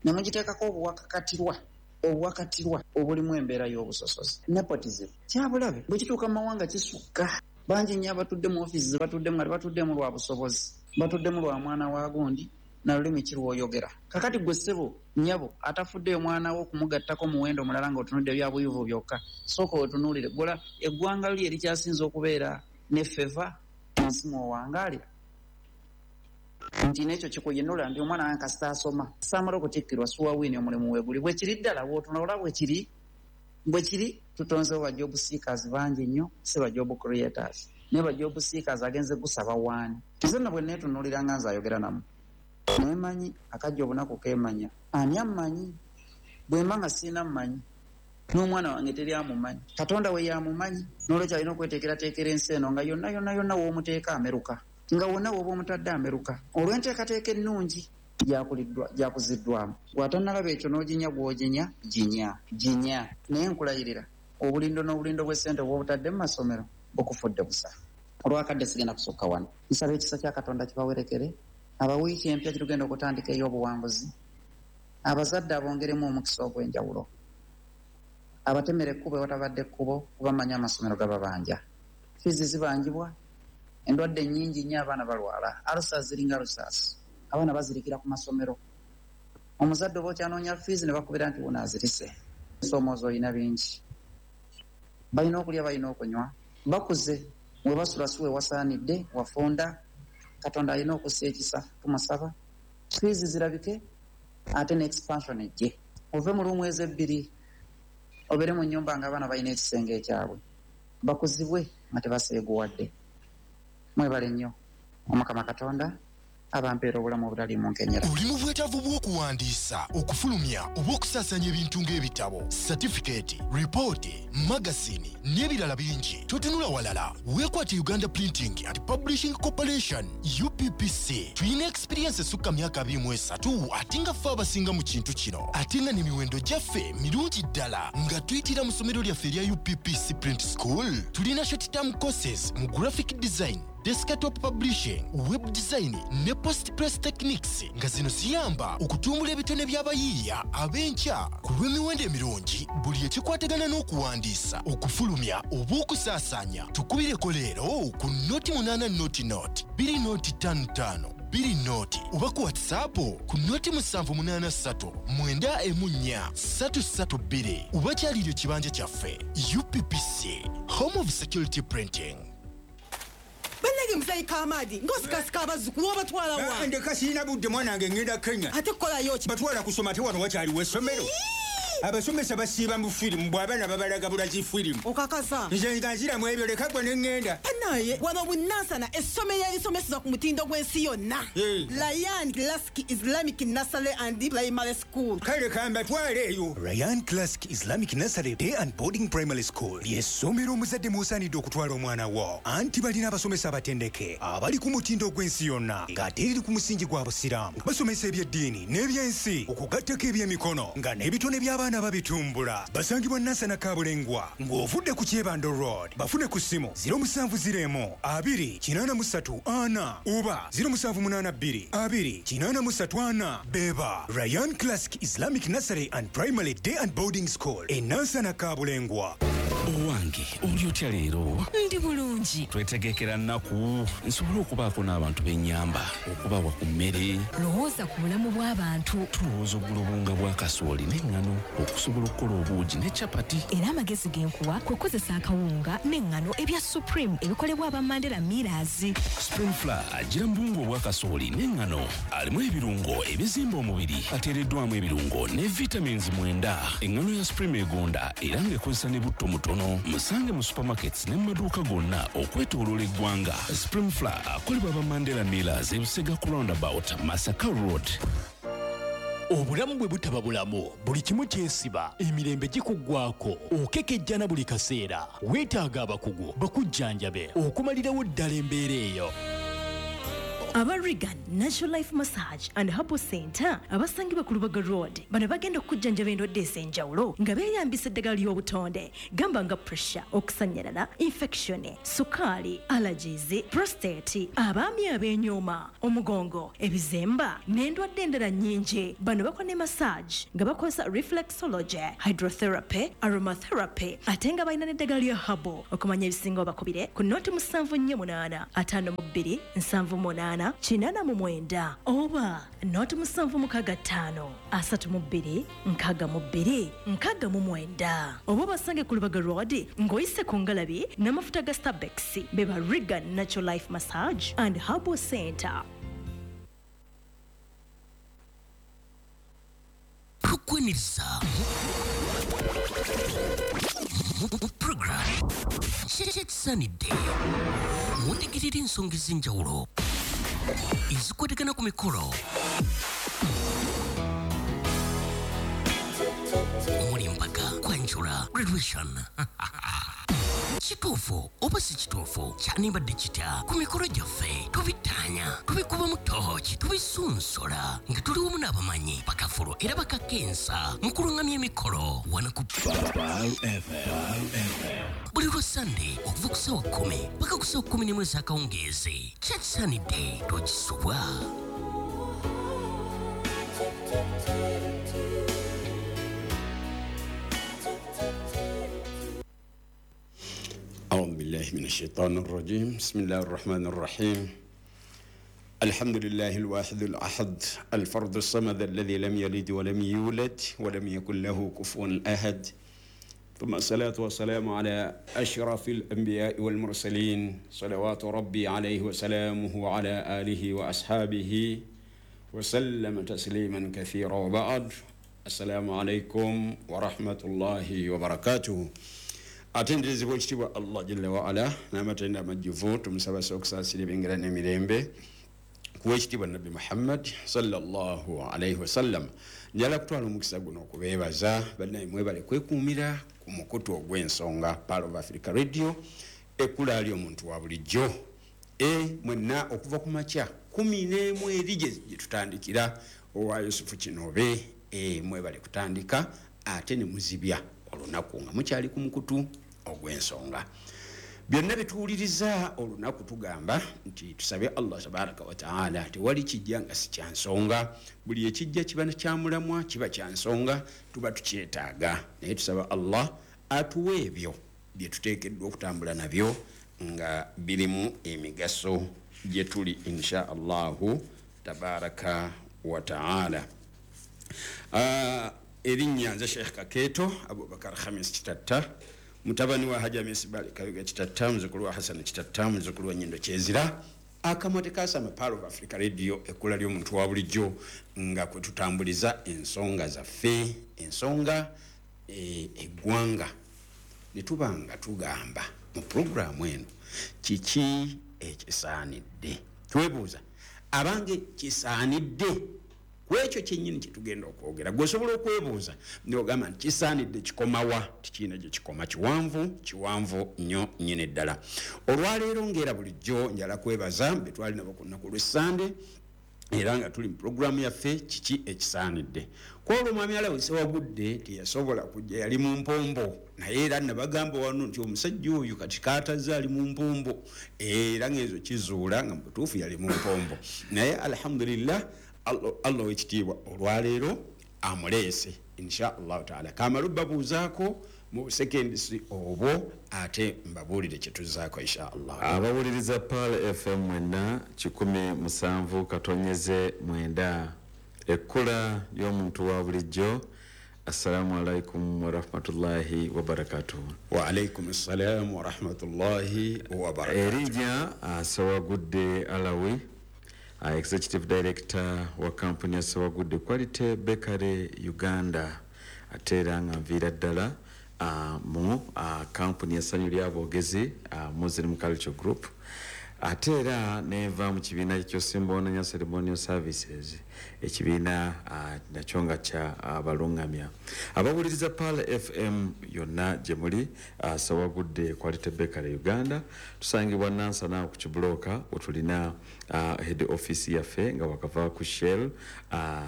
ne mugiteekako obuwakakatirwa. Obuwakatirwa obulimu embeera y'obusosozi, nepotism, kyabulabe. Bwe kituuka mu mawanga kisukka. Bangi nnyo abatudde mu ofiisi ze batuddemu nga tebatuddemu lwa busobozi, batuddemu lwa mwana wa gundi na lulimi ki lw'oyogera. Kakati gwe ssebo, nnyabo, atafuddeyo mwana wo okumugattako muwendo mulala ng'otunudde bya buyivu byokka, sooka weetunuulire gola eggwanga lyo erikyasinze okubeera ne feva mu nsi mw'owangaalira. Nti n'ekyo kikuyinula nti omwana wange kasita asoma, saamala okutikkirwa suwa wiini omulimu weeguli. Bwe kiri ddala bw'otunula olaba bwe kiri, bwe kiri. Tutonzewo ba job seekers bangi nnyo, si ba job creators. Naye ba job seekers agenze gusaba waani? Nze nno bwe neetunuulira nga nze ayogera nammwe, neemanyi akajja obunaku keemanya. Ani ammanyi? Bwe mba nga sirina mmanyi, n'omwana wange teri amumanyi, Katonda we y'amumanyi. N'olwekyo alina okweteekerateekera ensi eno nga yonna yonna yonna w'omuteeka ameruka, nga wonna w'oba omutadde ameruka olw'enteekateeka ennungi gyakuziddwamu. Gw'atannalaba ekyo n'oginya gw'oginya, ginya ginya, naye nkulayirira obulindo n'obulindo bw'essente bw'obutadde mu masomero bukufudde busa. Olwakadde sigenda kusukka wano. Nsaba ekisa kya Katonda kibawerekere. Abawiiki empya gyetugenda okutandika ey'obuwanguzi, abazadde abongeremu omukisa ogw'enjawulo, abatemera ekkubo ewatabadde ekkubo, kuba mmanyi amasomero gababanja, fiizi zibanjibwa, endwadde nnyingi nnyo, abaana balwala ulcers, ziringa ulcers, abaana bazirikira ku masomero. Omuzadde oba okyanoonya fiizi ne bakubira nti wuno azirise. Ensoomoozo olina bingi, balina okulya, balina okunywa, bakuze, we basula si we wasaanidde, wafunda. Katonda alina okussa ekisa, tumusaba fiizi zirabike ate ne expansion ejje, ove mu luumu ezo ebbiri obeere mu nnyumba nga abaana balina ekisenge ekyabwe, bakuzibwe nga tebaseeguwadde. Mwebale nnyo. Omukama Katonda abampeera obulamu obutaliimu nkenyera. Oli mu bwetaavu bw'okuwandiisa, okufulumya oba okusaasaanya ebintu ng'ebitabo, satifikeeti, ripooti, magasini n'ebirala bingi? Totunula walala, weekwate Uganda Printing and Publishing Corporation, UPPC. Tulina experience esukka myaka 23, ate nga ffe abasinga mu kintu kino, ate nga n'emiwendo gyaffe mirungi ddala. Nga tuyitira mu ssomero lyaffe erya UPPC Print School, tulina short term courses mu graphic design, desktop publishing, web design ne post press techniques, nga zino ziyamba okutumbula ebitone by'abayiiya ab'enkya. Ku lw'emiwendo emirungi, buli ekikwatagana n'okuwandiisa, okufulumya oba okusaasaanya, tukubireko leero ku 080 0 2 0 5 5 2 0, oba ku WhatsApp ku 0 783 94 332, oba kyalira ekibanja kyaffe. UPPC, home of security printing. Bannange, muzeeyi Kamaadi, ng'osikasika abazzukulu, obatwala wa? Ndeka, sirina budde mwana wange, ngenda Kenya. Ate kukolayo ki? Batwala kusoma, ate wano wakyaliwo essomero? Abasomesa basiiba mu firimu, bw'abaana babalaga bulazi firimu. Okakasa? Nze nga nziramu ebyo, leka gwe ne ŋŋenda. Banaye wano bunansana, essomero erisomeseza ku mutindo gw'ensi yonna, Ryan Classic Islamic Nursery and Primary School. Kale kambatwale eyo. Ryan Classic Islamic Nursery Day and Boarding Primary School ly'essomero omuzadde mw'osaanidde okutwala omwana wo, anti balina abasomesa abatendeke abali ku mutindo gw'ensi yonna, ng'ate eriri ku musingi gwa Busiraamu. Basomesa ebyeddiini n'ebyensi, okugattako ebyemikono, nga n'ebitone by'abaana babitumbula. Basangibwa Nansana Kabulengwa ng'ovudde ku Kyebando Road. Bafune ku ssimu 0701 20 83 4 oba 0782 20 83 4. Beba Ryan Classic Islamic Nursery and Primary Day and Boarding School e Nansana Kabulengwa. Owange, oli otya leero? Ndi bulungi. Twetegekera nnaku nsobole okubaako n'abantu b'ennyamba okubawa ku mmere. Lowooza ku bulamu bw'abantu. Tulowooza ogula obuwunga bwa kasooli n'eŋŋano okusobola okukola obuugi ne capati. Era amagezi ge nkuwa kwe kukozesa akawunga n'eŋŋano ebya Supreme ebikolebwa aba Mandela Millers. Supreme Flour agira mu buwunga obwa kasooli n'eŋŋano, alimu ebirungo ebizimba omubiri, ateereddwamu ebirungo ne vitamins 9. Eŋŋano ya Supreme egonda era ng'ekozesa ne butto mutono. Musange mu supermarkets ne mu maduuka gonna okwetooloola eggwanga. Supreme Flour akolebwa aba Mandela Millers, ebusega ku roundabout, Masaka Road. Obulamu bwe butaba bulamu, buli kimu kyesiba, emirembe gikuggwako, okekejjana buli kaseera. Weetaaga abakugu bakujjanjabe okumalirawo ddala embeera eyo. Aba Regan Natural Life Massage and Herbal Center abasangibwa ku Lubaga Road bano bagenda okujjanjaba endwadde ez'enjawulo nga beeyambisa eddagala ly'obutonde, gamba nga pressure, okusannyalala, infection, sukaali, allergies, prostate, abaami ab'enyooma, omugongo, ebizimba n'endwadde endala nnyingi. Bano bakola ne massage nga bakozesa reflexology, hydrotherapy, aromatherapy, ate nga balina n'eddagala lya herbal. Okumanya ebisingawo bakubire ku 078 52 78 89 oba 0765 32 62 69, oba basange ku Lubaga Road ng'oyise ku ngalabi n'amafuta ga Starbucks. Beba Regan Natural Life Massage and Herbal Center. Tukwaniriza mu program Kyekisaanidde, mutegerera ensonga ez'enjawulo ezikwatagana ku mikolo omuli embaga, kwanjula, graduation. Kituufu oba si kituufu, kyanibadde kitya ku mikolo gyaffe? Tubittaanya, tubikubamu tooki, tubisunsola nga tuli wamu n'abamanyi bakafulu era bakakensa mu kulungamya emikolo wano ku buli lwa Sande okuva ku ssaawa 10 paka ku ssaawa 11 ez'akawungeezi. Kyekisaanidde, tokisubwa. أعوذ بالله من الشيطان الرجيم. بسم الله الرحمن الرحيم. الحمد لله الواحد الأحد الفرد الصمد الذي لم يلد ولم يولد ولم يكن له كفوا أحد، ثم الصلاة والسلام على أشرف الأنبياء والمرسلين، صلوات ربي عليه وسلامه وعلى آله وأصحابه وسلم تسليما كثيرا، وبعد. السلام عليكم ورحمة الله وبركاته. Atenderezebwa ekitiibwa Allah jalla waala n'amatenda amajjuvu, tumusaba okusaasira ebyengera n'emirembe kuwa ekitiibwa Nabbi Muhammad sallallahu alaihi wasallam. Njala kutwala omukisa guno okubeebaza bannaye, mwebale kwekuumira ku mukutu ogw'ensonga Pearl of Africa Radio, ekkula ali omuntu wa bulijjo. Mwenna okuva ku makya 11 eri gye tutandikira owa Yusufu Kinobe, mwebale kutandika ate ne muzibya olunaku nga mukyali ku mukutu ogw'ensonga. Byonna bituwuliriza olunaku tugamba nti tusabe Allah tabaraka wa taala, tewali kijja nga si kya nsonga. Buli ekijja kiba kyamulamwa, kiba kya nsonga, tuba tukyetaaga, naye tusaba Allah atuwe ebyo bye tuteekeddwa okutambula nabyo nga birimu emigaso gye tuli insha Allahu tabaraka wa taala. Erinnya nze Sheikh Kakeeto Abubakar Khamis Kitatta, mutabani wa Haji Hamisi Bali Kayuga Kitatta, muzzukulu wa Hassan Kitatta, muzzukulu wa Nyindo Kyezira. Akamwate kasama Pearl of Africa Radio, ekkula ly'omuntu wa bulijjo nga kwe tutambuliza ensonga zaffe, ensonga eggwanga. Ne tuba nga tugamba mu pulogulaamu eno kiki ekisaanidde. Twebuuza abange kisaanidde kwekyo kyennyini kye tugenda okwogera. Gwe osobola okwebuuza n'ogamba nti kisaanidde kikomawa? Tikiina gye kikoma, kiwanvu kiwanvu nnyo nnyini ddala. Olwaleero ng'era bulijjo njala kwebaza be twali nabo ku lunaku lw'Essande, era nga tuli mu pulogulaamu yaffe kiki ekisaanidde. Kwolwo omwami Alawi Ssewagudde teyasobola kujja, yali mu mpombo, naye era nabagamba wano nti omusajja oyo kati kaatazze ali mu mpombo, era ng'ezo kizuula nga mu butuufu yali mu mpombo. Naye alhamdulillah Allah w'ekitiibwa olwaleero amuleese insha Allahu taala. Kamala babuuzaako mu busekendisi obwo ate mbabuulire kye tuzzaako insha Allah. Abawuliriza Pearl FM mwenna 107.9, ekkula y'omuntu wa bulijjo. Assalamu alaikum warahmatullahi wabarakatuh. Wa alaikum assalam warahmatullahi wabarakatuh. Erinnya Ssewagudde Alawi, Executive Director wa kampuni ya Ssewagudde Quality Bakery Uganda, ate era nga nviira ddala mu kampuni ya Ssanyu Ly'Aboogezi, Muslim Culture Group. Ate era nenva mu kibiina ky'Osimbononya Ceremonial Services, ekibiina nakyo nga kya abalungamya abawuliriza Pearl FM yonna gye muli. Sewagudde Quality Bakery Uganda tusangibwa Nansana ku Kibulooka, wetulina head office yaffe nga wakava ku Shell,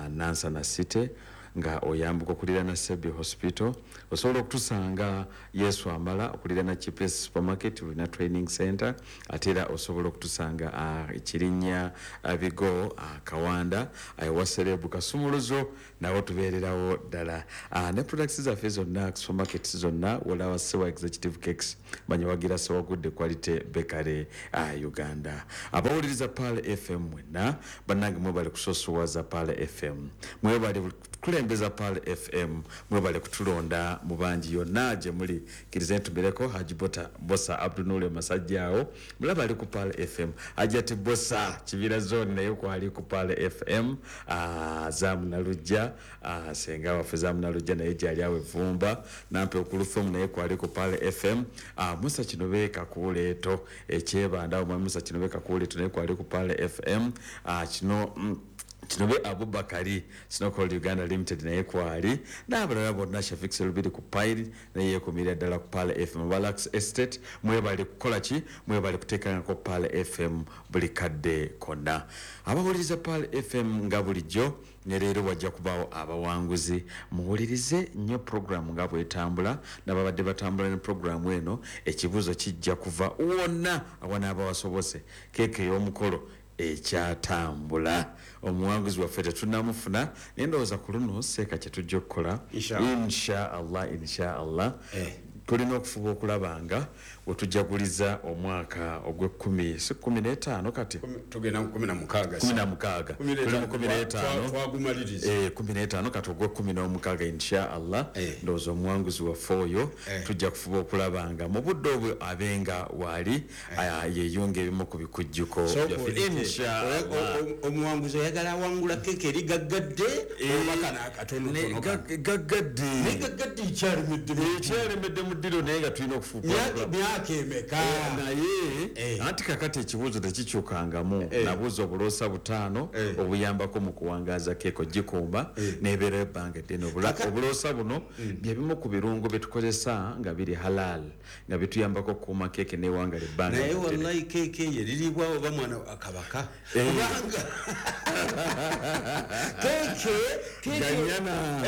Nansana City, nga oyambuka okuliraana Sebi Hospital. Osobola okutusanga Yesu Amala okuliraana Cheapest Supermarket, tulina training center. Ate era osobola okutusanga Kirinnya, Bigo, Kawanda, ewa Serebu Kasumuluzo, nawo tubeererawo ddala. Ne products zaffe zonna, supermarkets zonna wolaba Sewa Executive Cakes, manyi wagira Sewagudde Quality Bakery Uganda. Abawuliriza Pearl FM mwenna bannange, mwebale kusosowaza Pearl FM, mwebale kulembeza Pearl FM, mwebale kutulonda mu bangi yonna gye muli. Kkirize ntumireko Haji Bota Bosa Abdunule Masajja, awo mulaba ali ku Pearl FM. Hajati Bosa Kibira Zone naye kwali ku Pearl FM. Zamunalujja, senga waffe Zamunalujja naye gyali awo evumba. Nampe okulufumu naye kwali ku Pearl FM. Musa Kinobe Kakuuleeto ekyebanda awo, mwami Musa Kinobe Kakuuleeto naye kwali ku Pearl FM. Kino Kinobe Abubakari Snowcall Uganda Limited naye kwali, n'abalala bonna. Shafik Selubiri ku Pile naye yeekumirira ddala ku Pearl FM. Balax Estate, mwebale kukola ki, mwebale kuteekangako Pearl FM buli kadde konna. Abawuliriza Pearl FM, nga bulijjo ne leero wajja kubaawo abawanguzi. Muwulirize nnyo puroguramu nga bwetambula, nababadde batambula ne puroguramu eno. Ekibuuzo kijja kuva wonna awanaaba wasobose. Keeke ey'omukolo ekyatambula, omuwanguzi waffe tetunamufuna, naye ndowooza ku luno seeka kyetujja okukola, insha Allah, insha Allah, tulina okufuba okulaba nga wetujaguliza omwaka ogw'ekkumi, si 15 kati? Tugenda mu 16. 16, tuli mu 15. Twagumaliriza. 15, kati ogw'e16, insha Allah, ndowooza omuwanguzi waffe oyo tujja kufuba okulaba nga mu budde obwo abenga waali, yeyunga ebimu ku bikujjuko byaffe, insha Allah. Omuwanguzi oyagala awangula keeke eri gaggadde oba kano akatonotono? Gaggadde. Naye gaggadde ekyalemedde. Ekyalemedde mu ddiro, naye nga tulina okufuba. Myaka emeka? Naye anti kakati ekibuuzo tekikyukangamu. Nabuuza obuloosa butaano obuyambako mu kuwangaaza keeko, gikuuma nebeerayo ebbanga eddene. Obuloosa buno byebimu ku birungo byetukozesa nga biri halal, nga bituyambako okukuuma keeke newangala ebbanga Naye eddene. Wallahi, keeke eyo eriribwa oba mwana kabaka? Kubanga keeke Ganyana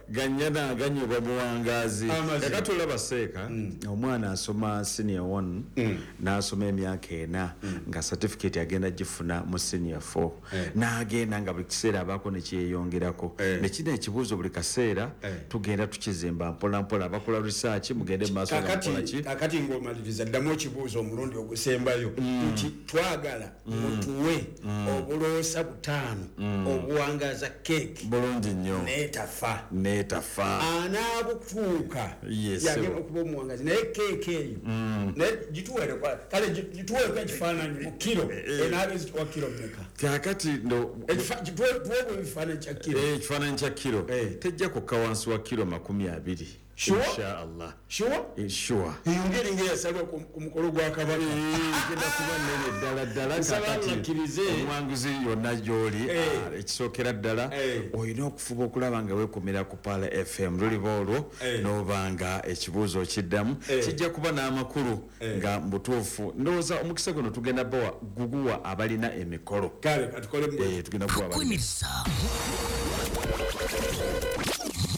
ganyana ganyibwa buwangaazi. Amazima. Kakati olaba seeka, omwana asoma senior 1 n'asoma emyaka 4, nga certificate agenda gifuna mu senior 4, n'agenda nga buli kiseera abaako nekyeyongerako. Nekino ekibuuzo buli kaseera tugenda tukizimba mpola mpola. Abakola research mugende mu maaso nga mukola ki. Kakati ng'omaliriza, ddamu ekibuuzo omulundi ogusembayo, nti twagala mutuwe obuloosa butaano obuwangaza keeke Bulungi nnyo. neetafa. Neetafa. Anaabutuuka Yes, yagenda sir. okuba omuwangazi. Naye keeke eyo, naye gituweere kale gituweereko ekifaananyi mu kiro, enaaba ezituwa kiro mmeka? Kakati ndo Tuweebwa ebifaananyi kya kiro. Ekifaananyi kya kiro tejja kukka wansi wa kiro 20. Sure? Insha Allah. Sure? Sure. Eyo ngeri ngaeyasalwa ku mukolo gwa kabaka. Egenda kuba nnene ddala ddala. Nsaba Kakati Allakkirize. omuwanguzi yonna gy'oli, ekisookera ddala olina okufuba okulaba nga weekumira ku Pearl FM. Luliba olwo n'oba nga ekibuuzo okiddamu, kijja kuba n'amakulu nga mu butuufu. Ndowooza omukisa guno tugenda bawa guguwa abalina emikolo. Kale katukole. Tugenda kuwa abalina Tukwaniriza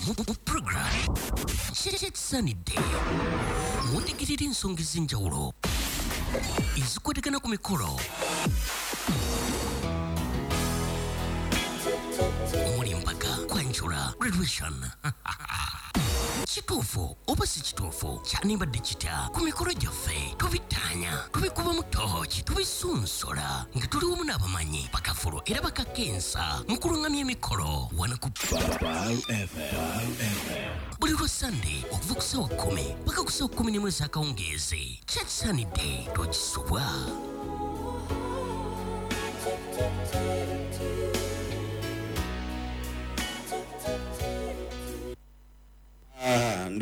mu program Kyekisaanidde, mutegerera ensonga ez'enjawulo ezikwatagana ku mikolo omuli embaga, kwanjula, graduation. Kituufu oba si kituufu, kyanibadde kitya? Ku mikolo gyaffe tubittaanya, tubikubamu tooki, tubisunsola nga tuli wamu n'abamanyi bakafulu era bakakensa mu kulungamya emikolo wano ku buli lwa Sande okuva ku ssaawa 10 paka ku ssaawa 11 ez'akawungeezi. Kyekisaanidde, tokisubwa.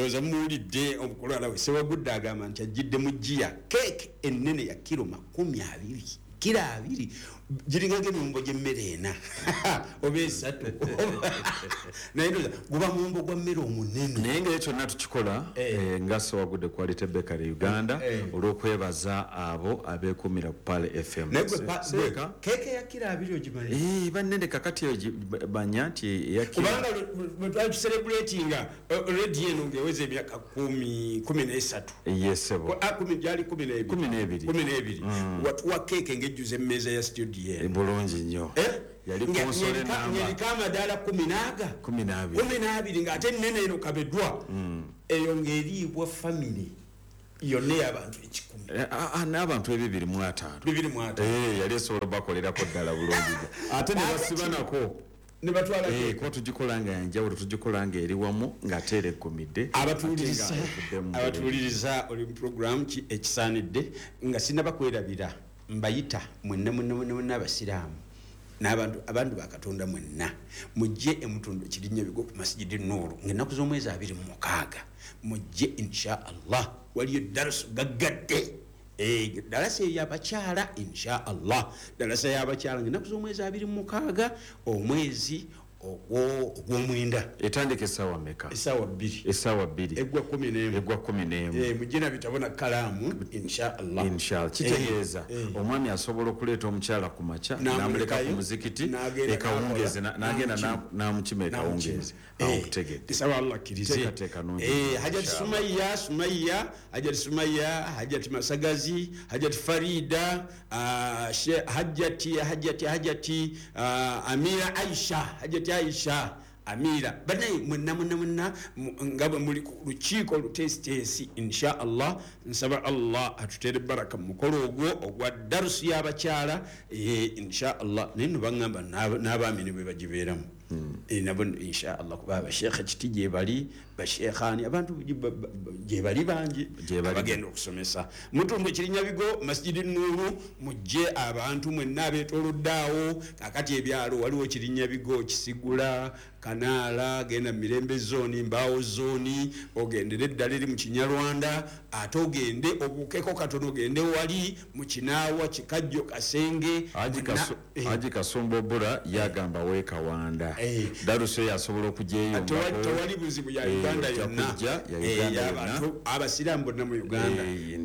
Ndowooza muwulidde omukulu Alawe Sewagudde agamba nti ajjidde mu giya keeke ennene ya kiro 20, kiro 20, giringako emiwumbo gy'emmere 4 oba 3. Naye ndowooza guba muwumbo gwa mmere omunene. Naye nga kyonna tukikola nga Sewagudde Quality Bakery Uganda olw'okwebaza abo abeekuumira ku Pearl FM. Naye gwe keeke ya kiro 20 ogimanyi? Bannene kakati banya nti eya kiro. Kubanga bwe twali tucelebratinga radio eno ng'eweza emyaka 13. Yes, sebo. Gyali 12. 12. 12. Watuwa keeke ng'ejjuza emmeeza ya studio eno. Bulungi nnyo. Yali konsole namba. Ng'eriko amadaala 12. 12. 12 ng'ate ennene eno kabeddwa. Eyo ng'eriibwa family yonna ey'abantu 100. N'abantu 205. 205. Yali esobola bakolerako ddala bulungi. Ate ne basibanako. Ne batwala keeke. Kuba tugikola nga yanjawulo, tugikola nga eri wamu ng'ate era eggumidde. Abatuwuliriza oli mu program ki ekisaanidde nga sinnaba kwerabira mbayita mwenna mwenna mwenna mwenna abasiraamu n'abantu abantu ba Katonda mwenna mujje emutundu Kirinyabigo ku Masjidi Nuuru ng'ennaku z'omwezi 26 mujje insha Allah waliyo darusu gaggadde. Darasa y'abakyala insha Allah, darasa y'abakyala ng'ennaku z'omwezi 26 omwezi ogw'omwenda. Etandika essaawa mmeka? Essaawa 2. Essaawa 2. Eggwa 11. Eggwa 11. Mujje na bitabo na kkalaamu insha Allah. Insha Allah. Kitegeeza omwami asobola okuleeta omukyala ku makya n'amuleka ku muzikiti ekawungeezi n'agenda n'amukima ekawungeezi. Awo nkutegedde. Nsaba Allah akkirize. Teekateeka nnungi. Hajati Sumaya, Sumaya, Hajati Sumaya, Hajati Masagazi, Hajati Farida, Hajati, Hajati, Hajati, Amira Aisha, Hajati Aisha, Amira. Banaye mwenna mwenna mwenna nga bwe muli ku lukiiko oluteesiteesi insha Allah nsaba Allah atuteere baraka mu mukolo ogwo ogwa darusu y'abakyala insha Allah. Naye nno baŋŋamba n'abaami ne bwe bagibeeramu. Nabo insha Allah kuba abasheekha kiti gye bali, basheekhani abantu gye bali bangi abagenda okusomesa. Mutundu Kirinyabigo Masjidi Nuuru mujje abantu mwenna abeetoolodde awo. Kaakati ebyalo waliwo Kirinyabigo, Kisigula, Kanaala, genda Mirembe zooni, Mbaawo zooni, ogendere eddala eri mu Kinyarwanda, ate ogende obuukeko katono ogende wali mu Kinaawa, Kikajjo, Kasenge. Haji Kasumba Obura yagamba weekawanda. Darusu eyo asobola okugyeyungako. Tewali buzibu ya Uganda yonna. Abantu abasiraamu bonna mu Uganda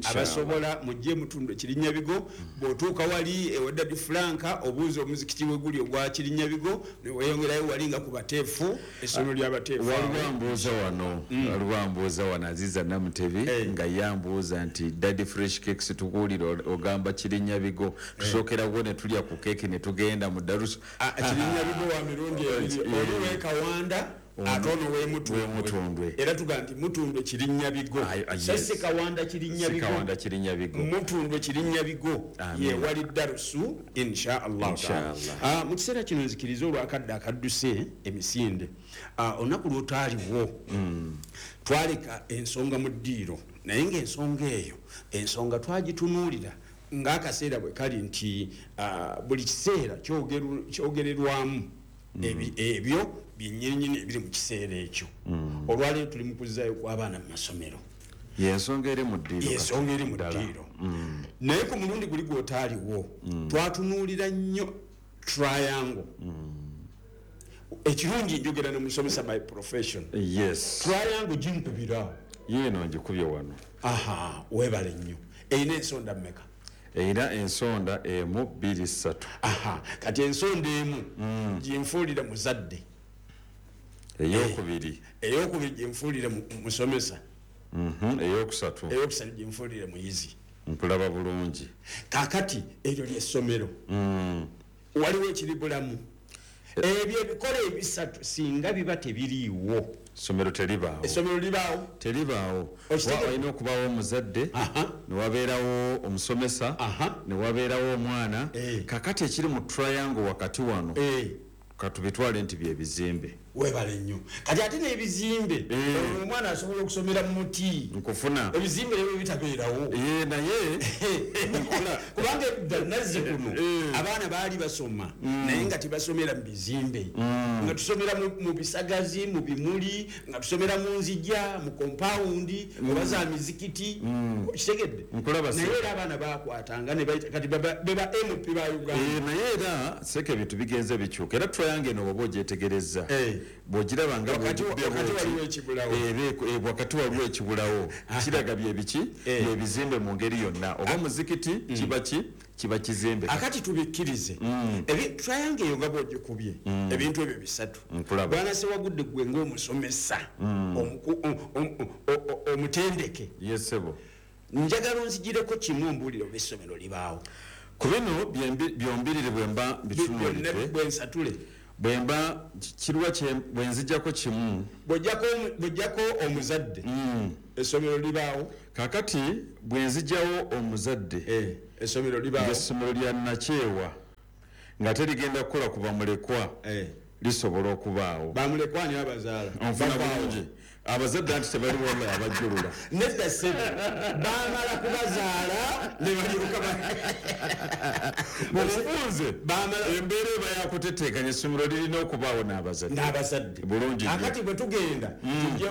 abasobola mujje mutundu Kirinyabigo. Bw'otuuka wali ewa Daddy Franka obuuza omuzikiti we guli ogwa Kirinyabigo ne weeyongerayo wali nga ku bateefu, essomero ly'abateefu. Waliwo ambuuza wano Aziza Namutebi nga yambuuza nti Daddy Fresh Cakes tukuwulira ogamba Kirinyabigo, tusookerako ne tulya ku keeki ne tugenda mu darusu. Kirinyabigo wa mirundi ebiri, oli w'e Kawanda ate ono w'e Mutundwe. Era tugamba nti Mutundwe Kirinyabigo, so si Kawanda Kirinyabigo, Mutundwe Kirinyabigo ye wali darusu insha Allah. Mu kiseera kino nzikiriza olwakadde akadduse emisinde. Olunaku lw'otaaliwo twaleka ensonga mu ddiiro, naye ng'ensonga eyo ensonga twagitunuulira ng'akaseera bwe kali nti buli kiseera kyogererwamu ebyo byennyininyini ebiri mu kiseera ekyo. Olwaleero tuli mu kuzzaayo kw'abaana mu masomero. Yensonga eri mu ddiiro. Ensonga eri mu ddiiro. Naye ku mulundi guli gw'otaaliwo twatunuulira nnyo triangle. Ekirungi njogera ne musomesa by profession. Yes. Triangle ginkubira. Yeeno ngikubye wano. Aha, weebale nnyo. Erina ensonda mmeka? Erina ensonda 1 2 3. Aha, kati ensonda emu ginfuulira muzadde. Eyokubiri. Eyokubiri ginfuulira musomesa. Eyokusatu. Eyokusatu ginfuulira muyizi. Nkulaba bulungi. Kaakati eryo ly'essomero. Waliwo ekiribulamu. Ebyo ebikola ebisatu singa biba tebiriiwo, Essomero teribaawo. Essomero libaawo? Teribaawo. Walina okubaawo omuzadde, ne wabeerawo omusomesa, ne wabeerawo omwana. Kakati ekiri mu triangle wakati wano katubitwale nti bye bizimbe. Webale nnyo. Kati ate n'ebizimbe, omwana asobola okusomera mu muti. Nkufuna. Ebizimbe ebyo bitabeerawo. Naye kubanga edda nazzi kuno abaana baali basoma, naye nga tebasomera mu bizimbe, nga tusomera mu bisagazi, mu bimuli, nga tusomera mu nzija, mu kompawundi oba za mizikiti. Kitegedde? Naye era abaana bakwatanga kati beba MP ba Uganda. Naye era seka ebintu bigenze bikyuka, era triangle eno oba ogyetegereza bw'ogiraba nga wakati wakati waliwo ekibulawo, kiraga byebiki byebizimbe mu ngeri yonna, oba muzikiti kiba kizimbe. Akati tubikkirize triangle eyo nga bw'ogikubye ebintu ebyo bisatu. Bwana Sewagudde gwe ng'omusomesa omutendeke, yesebo, njagala onzigireko kimu ombuulire oba essomero libaawo. Ku bino byombirire bwemba bitunuulidde bwensatule bwemba kirwa bwenzijjako kimu, bw'ojjako omuzadde essomero libaawo. Kakati bwenzijjawo omuzadde essomero libaawo, essomero lya Nakyewa nga terigenda kukola ku bamulekwa, lisobola okubaawo. Bamulekwa ni abazaala onfuna bulungi, abazadde anti tebali wala abajjulula nedda ssebo, bamala kubazaala ne balyoka mubufunze embeera eba yakuteteekanya, essomero lirina okubaawo n'abazadde bulungi. Akati bwe tugenda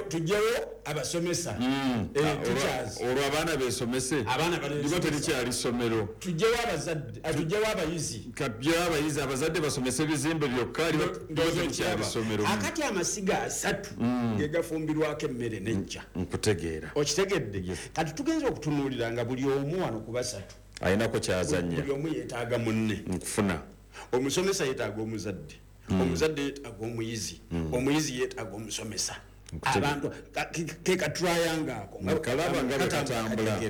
tujjewo abasomesa, olwo abaana beesomese, liba terikyali ssomero. Tujjewo abazadde, tujjewo abayizi, tujjewo abayizi, abazadde basomese ebizimbe byokka, liba terikyali ssomero. Akati amasiga asatu ge gafumbirwako emmere n'ejja. Nkutegeera. Okitegedde? Kati tugenza okutunuulira nga buli omu wano ku basatu ayinako kyazannya, buli omu yeetaaga munne. Nkufuna. Omusomesa yeetaaga omuzadde, omuzadde yeetaaga omuyizi, omuyizi yeetaaga omusomesa. Abantu ke katriangle ako kalaba nga katambula.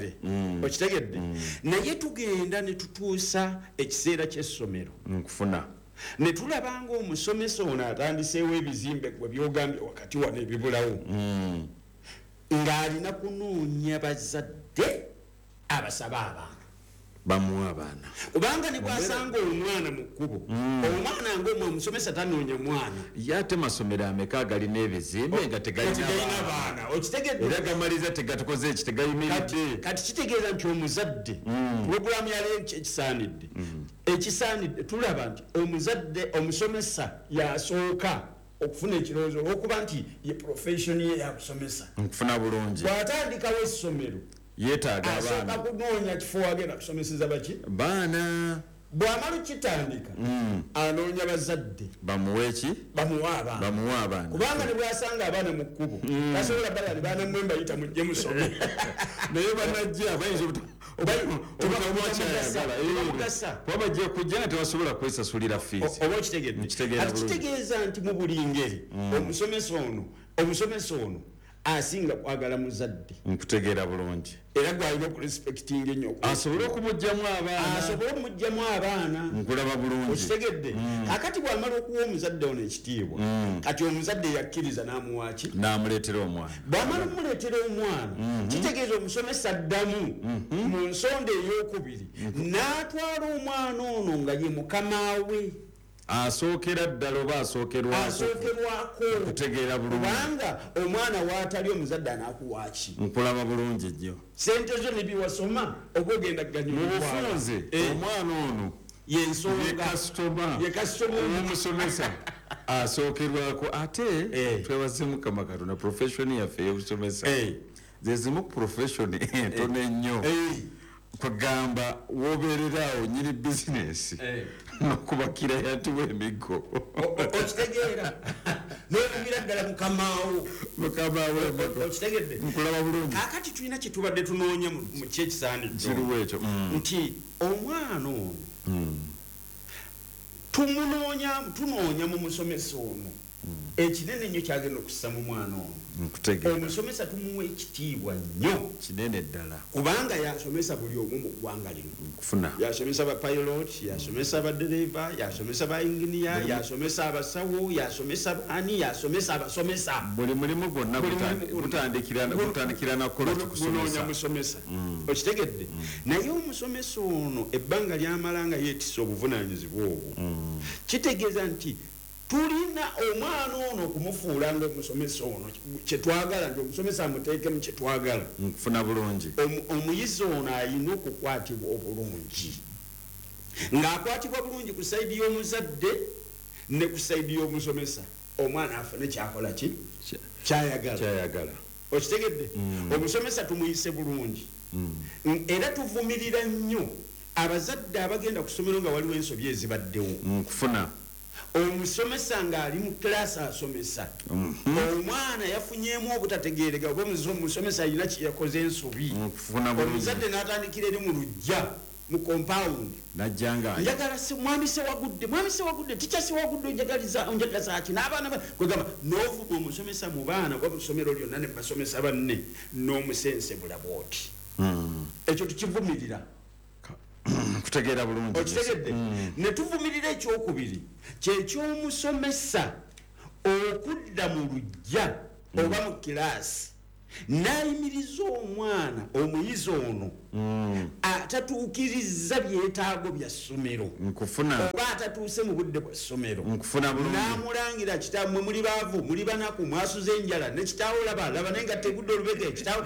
Okitegedde? Naye tugenda ne tutuusa ekiseera ky'essomero. Nkufuna. Ne tulaba ng'omusomesa ono atandiseewo ebizimbe gwe byogambye wakati wano ebibulawo, ng'alina kunoonya bazadde abasaba abaana bamuwa abaana, kubanga ne bw'asanga omwana mu kkubo, omwana ng'omusomesa tanoonya mwana. Ye ate masomero ameka agalina ebizimbe nga tegalina baana? Okitegedde? Era gamaliza tegatukoze eki, tegayimiridde. Kati kitegeeza nti omuzadde, pulogulaamu yali ekisaanidde, ekisaanidde tulaba nti omuzadde omusomesa yasooka okufuna ekirowoozo olw'okuba nti ye profession ye yakusomesa. Nkufuna bulungi. Bw'atandikawo essomero yeetaaga abaana, asooka kunoonya kifo wagenda kusomeseza baki baana. Bw'amala okitandika anoonya bazadde bamuwe ki, bamuwe abaana, bamuwe abaana, kubanga ne bw'asanga abaana mu kkubo tasobola balali baana mmwe mbayita mujje musome, naye banajja bayinza kuba bajja kujja nga tebasobola kwesasulira fiizi. Oba okitegedde? Kati kitegeeza nti mu buli ngeri omusomesa ono asinga kwagala muzadde. Nkutegeera bulungi. Era gwalina okurespectinga ennyo asobole okumugjamu abaana, asobole okumugjamu abaana. Nkulaba bulungi. Okitegedde? Kakati bw'amala okuwa omuzadde ono ekitiibwa, kati omuzadde yakkiriza n'amuwa ki? N'amuleetera omwana. Bw'amala okumuleetera omwana, kitegeeza omusomesa addamu mu nsonda ey'okubiri n'atwala omwana ono nga ye mukama we. Asookera ddala oba asookerwako? Kutegeera bulungi. Kubanga omwana waatali omuzadde anaakuwa ki? Nkulaba bulungi nnyo. Sente zo ne biwasoma oba ogenda kuganyulwa. Mu bufunze omwana ono yensonga ye kasitoma omusomesa asookerwako. Ate twebaze Mukama Katonda, profession yaffe ey'obusomesa ze zimu ku profession entono ennyo. Kugamba wobeererawo nyini bizinesi n'okubakira yantiwa emiggo. Okitegeera? N'okubira ddala mukamaawo. Mukamaawo. Okitegedde? Nkulaba bulungi. Kaakati tulina kye tubadde tunoonya mu kyekisaanidde kiriwo ekyo nti omwana ono tunoonya mu musomesa ono ekinene nnyo kyagenda okussa mu mwana ono. Omusomesa tumuwa ekitiibwa nnyo kinene ddala, kubanga yasomesa buli omu mu ggwanga lino. Yasomesa ba pilot, yasomesa badereva, yasomesa ba engineer, yasomesa abasawo, yasomesa ani, yasomesa abasomesa. Buli mulimu gwonna gutandikira nakukola gunoonya musomesa. Okitegedde? Naye omusomesa ono ebbanga lyamala nga yeetisse obuvunaanyizibwa obwo, kitegeeza nti Tulina omwana ono okumufuula nga omusomesa ono kyetwagala, nti omusomesa amuteekemu kyetwagala. Nkufuna bulungi. Omuyizi ono ayina okukwatibwa obulungi, ng'akwatibwa bulungi ku side y'omuzadde ne ku side y'omusomesa, omwana afune kyakola ki kyayagala. Kyayagala. Okitegedde? Omusomesa tumuyise bulungi. Era tuvumirira nnyo abazadde abagenda ku ssomero nga waliwo ensobi ezibaddewo. Nkufuna. Omusomesa ng'ali mu kilasi asomesa, omwana yafunyemu obutategeereka, oba omusomesa alina kyeyakoze ensobi, Nkufuna bulungi. omuzadde n'atandikira eri mu luggya, mu compound, Najjanga. "Njagala mwami Sewagudde, mwami Sewagudde, teacher Sewagudde, onjagaliza onjagaza ki?" N'abaana kwegamba n'ovuma omusomesa mu baana oba mu ssomero lyonna ne basomesa banne, n'omusensebula bwoti. Ekyo tukivumirira. Kutegeera bulungi. Okitegedde? Ne tuvumirira ekyokubiri, kyekyomusomesa okudda mu luggya oba mu kilaasi n'ayimiriza omwana, omuyizi ono atatuukiriza byetaago bya ssomero Nkufuna. oba atatuuse mu budde bwa ssomero, Nkufuna bulungi. n'amulangira, "Kitammwe muli baavu, muli banaku, mwasuze enjala, ne kitaawo laba laba naye nga tegudde olubege, kitaawo."